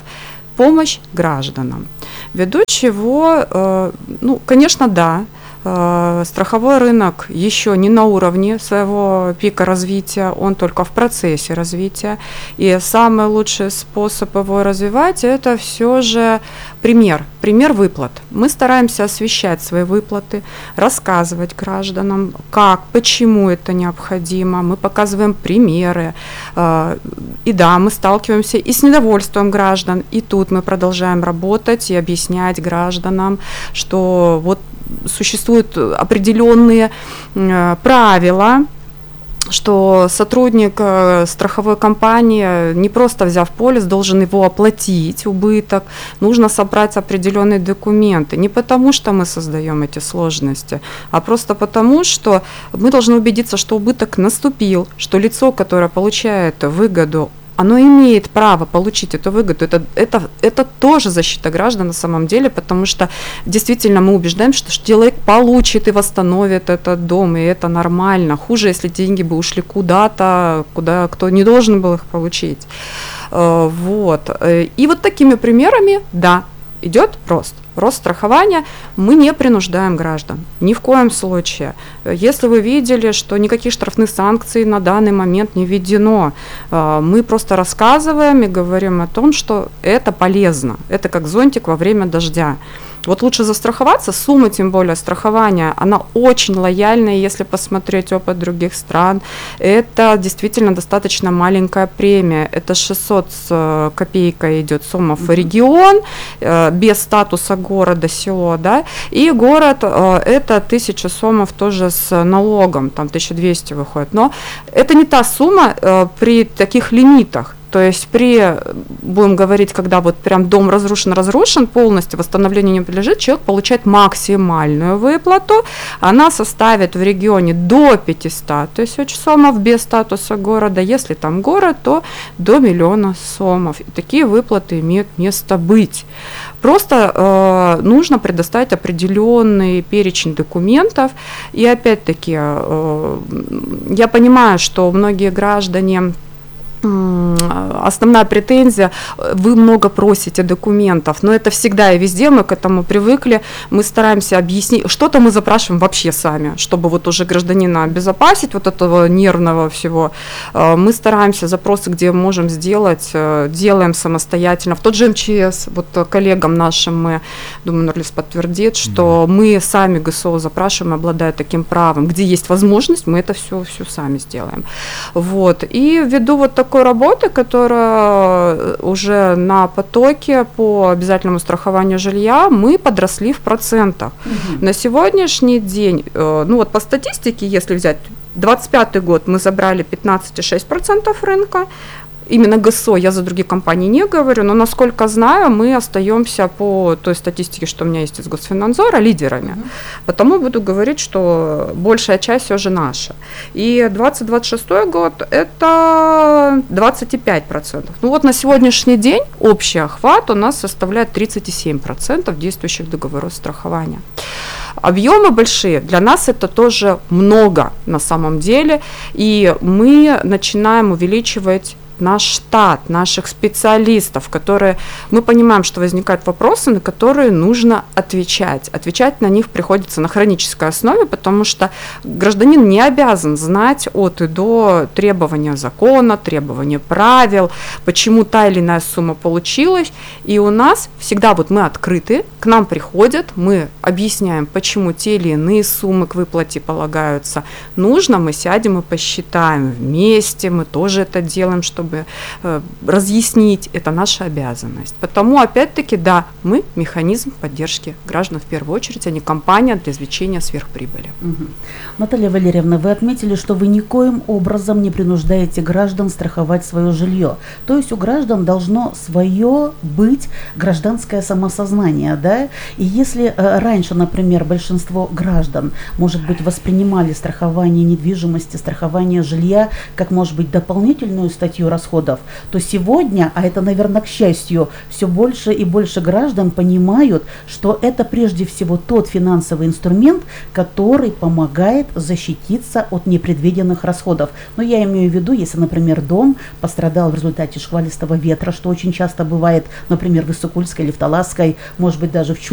[SPEAKER 19] помощь гражданам. Ввиду чего, э, ну, конечно, да, э, страховой рынок еще не на уровне своего пика развития, он только в процессе развития. И самый лучший способ его развивать – это все же пример, пример выплат. Мы стараемся освещать свои выплаты, рассказывать гражданам, как, почему это необходимо. Мы показываем примеры. И да, мы сталкиваемся и с недовольством граждан, и тут мы продолжаем работать и объяснять гражданам, что вот существуют определенные правила, что сотрудник э, страховой компании, не просто взяв полис, должен его оплатить, убыток, нужно собрать определенные документы. Не потому, что мы создаем эти сложности, а просто потому, что мы должны убедиться, что убыток наступил, что лицо, которое получает выгоду, оно имеет право получить эту выгоду. Это, это, это тоже защита граждан на самом деле, потому что действительно мы убеждаем, что человек получит и восстановит этот дом, и это нормально. Хуже, если деньги бы ушли куда-то, куда кто не должен был их получить. Вот. И вот такими примерами, да, идет рост. Рост страхования, мы не принуждаем граждан, ни в коем случае. Если вы видели, что никаких штрафных санкций на данный момент не введено, мы просто рассказываем и говорим о том, что это полезно, это как зонтик во время дождя. Вот лучше застраховаться, сумма, тем более страхования, она очень лояльная, если посмотреть опыт других стран. Это действительно достаточно маленькая премия. Это шестьсот с копейкой идет сомов в регион, без статуса города, село, да, и город это тысяча сомов тоже с налогом, там тысяча двести выходит. Но это не та сумма при таких лимитах. То есть при, будем говорить, когда вот прям дом разрушен-разрушен полностью, восстановлению не подлежит, человек получает максимальную выплату, она составит в регионе до пятисот тысяч сомов без статуса города, если там город, то до миллиона сомов. И такие выплаты имеют место быть. Просто э, нужно предоставить определенный перечень документов, и опять-таки э, я понимаю, что многие граждане, основная претензия, вы много просите документов, но это всегда и везде, мы к этому привыкли, мы стараемся объяснить, что-то мы запрашиваем вообще сами, чтобы вот уже гражданина обезопасить вот этого нервного всего, мы стараемся запросы, где можем сделать, делаем самостоятельно, в тот же эм че эс, вот коллегам нашим мы, думаю, Нурлис подтвердит, что mm-hmm. мы сами гэ эс о запрашиваем, обладая таким правом, где есть возможность, мы это все, все сами сделаем, вот, и ввиду вот такой работы, которая уже на потоке по обязательному страхованию жилья, мы подросли в процентах. Угу. На сегодняшний день, ну вот по статистике, если взять двадцать пятый год, мы забрали пятнадцать целых шесть десятых процента рынка. Именно гэ эс о, я за другие компании не говорю, но, насколько знаю, мы остаемся по той статистике, что у меня есть из Госфинанзора, лидерами. Mm-hmm. Потому буду говорить, что большая часть все же наша. И двадцать двадцать шестой год – это двадцать пять процентов. Ну вот на сегодняшний день общий охват у нас составляет тридцать семь процентов действующих договоров страхования. Объемы большие, для нас это тоже много на самом деле, и мы начинаем увеличивать наш штат, наших специалистов, которые, мы понимаем, что возникают вопросы, на которые нужно отвечать. Отвечать на них приходится на хронической основе, потому что гражданин не обязан знать от и до требования закона, требования правил, почему та или иная сумма получилась. И у нас всегда вот мы открыты, к нам приходят, мы объясняем, почему те или иные суммы к выплате полагаются. Нужно, мы сядем и посчитаем вместе, мы тоже это делаем, чтобы э, разъяснить, это наша обязанность. Потому, опять-таки, да, мы механизм поддержки граждан в первую очередь, а не компания для извлечения сверхприбыли.
[SPEAKER 18] Угу. Наталья Валерьевна, вы отметили, что вы никоим образом не принуждаете граждан страховать свое жилье. То есть у граждан должно свое быть гражданское самосознание, да? И если э, раньше, например, большинство граждан, может быть, воспринимали страхование недвижимости, страхование жилья как, может быть, дополнительную статью расходов, то сегодня, а это, наверное, к счастью, все больше и больше граждан понимают, что это прежде всего тот финансовый инструмент, который помогает защититься от непредвиденных расходов. Но я имею в виду, если, например, дом пострадал в результате шквалистого ветра, что очень часто бывает, например, в Иссыкульской или в Таласской, может быть, даже в Чуйской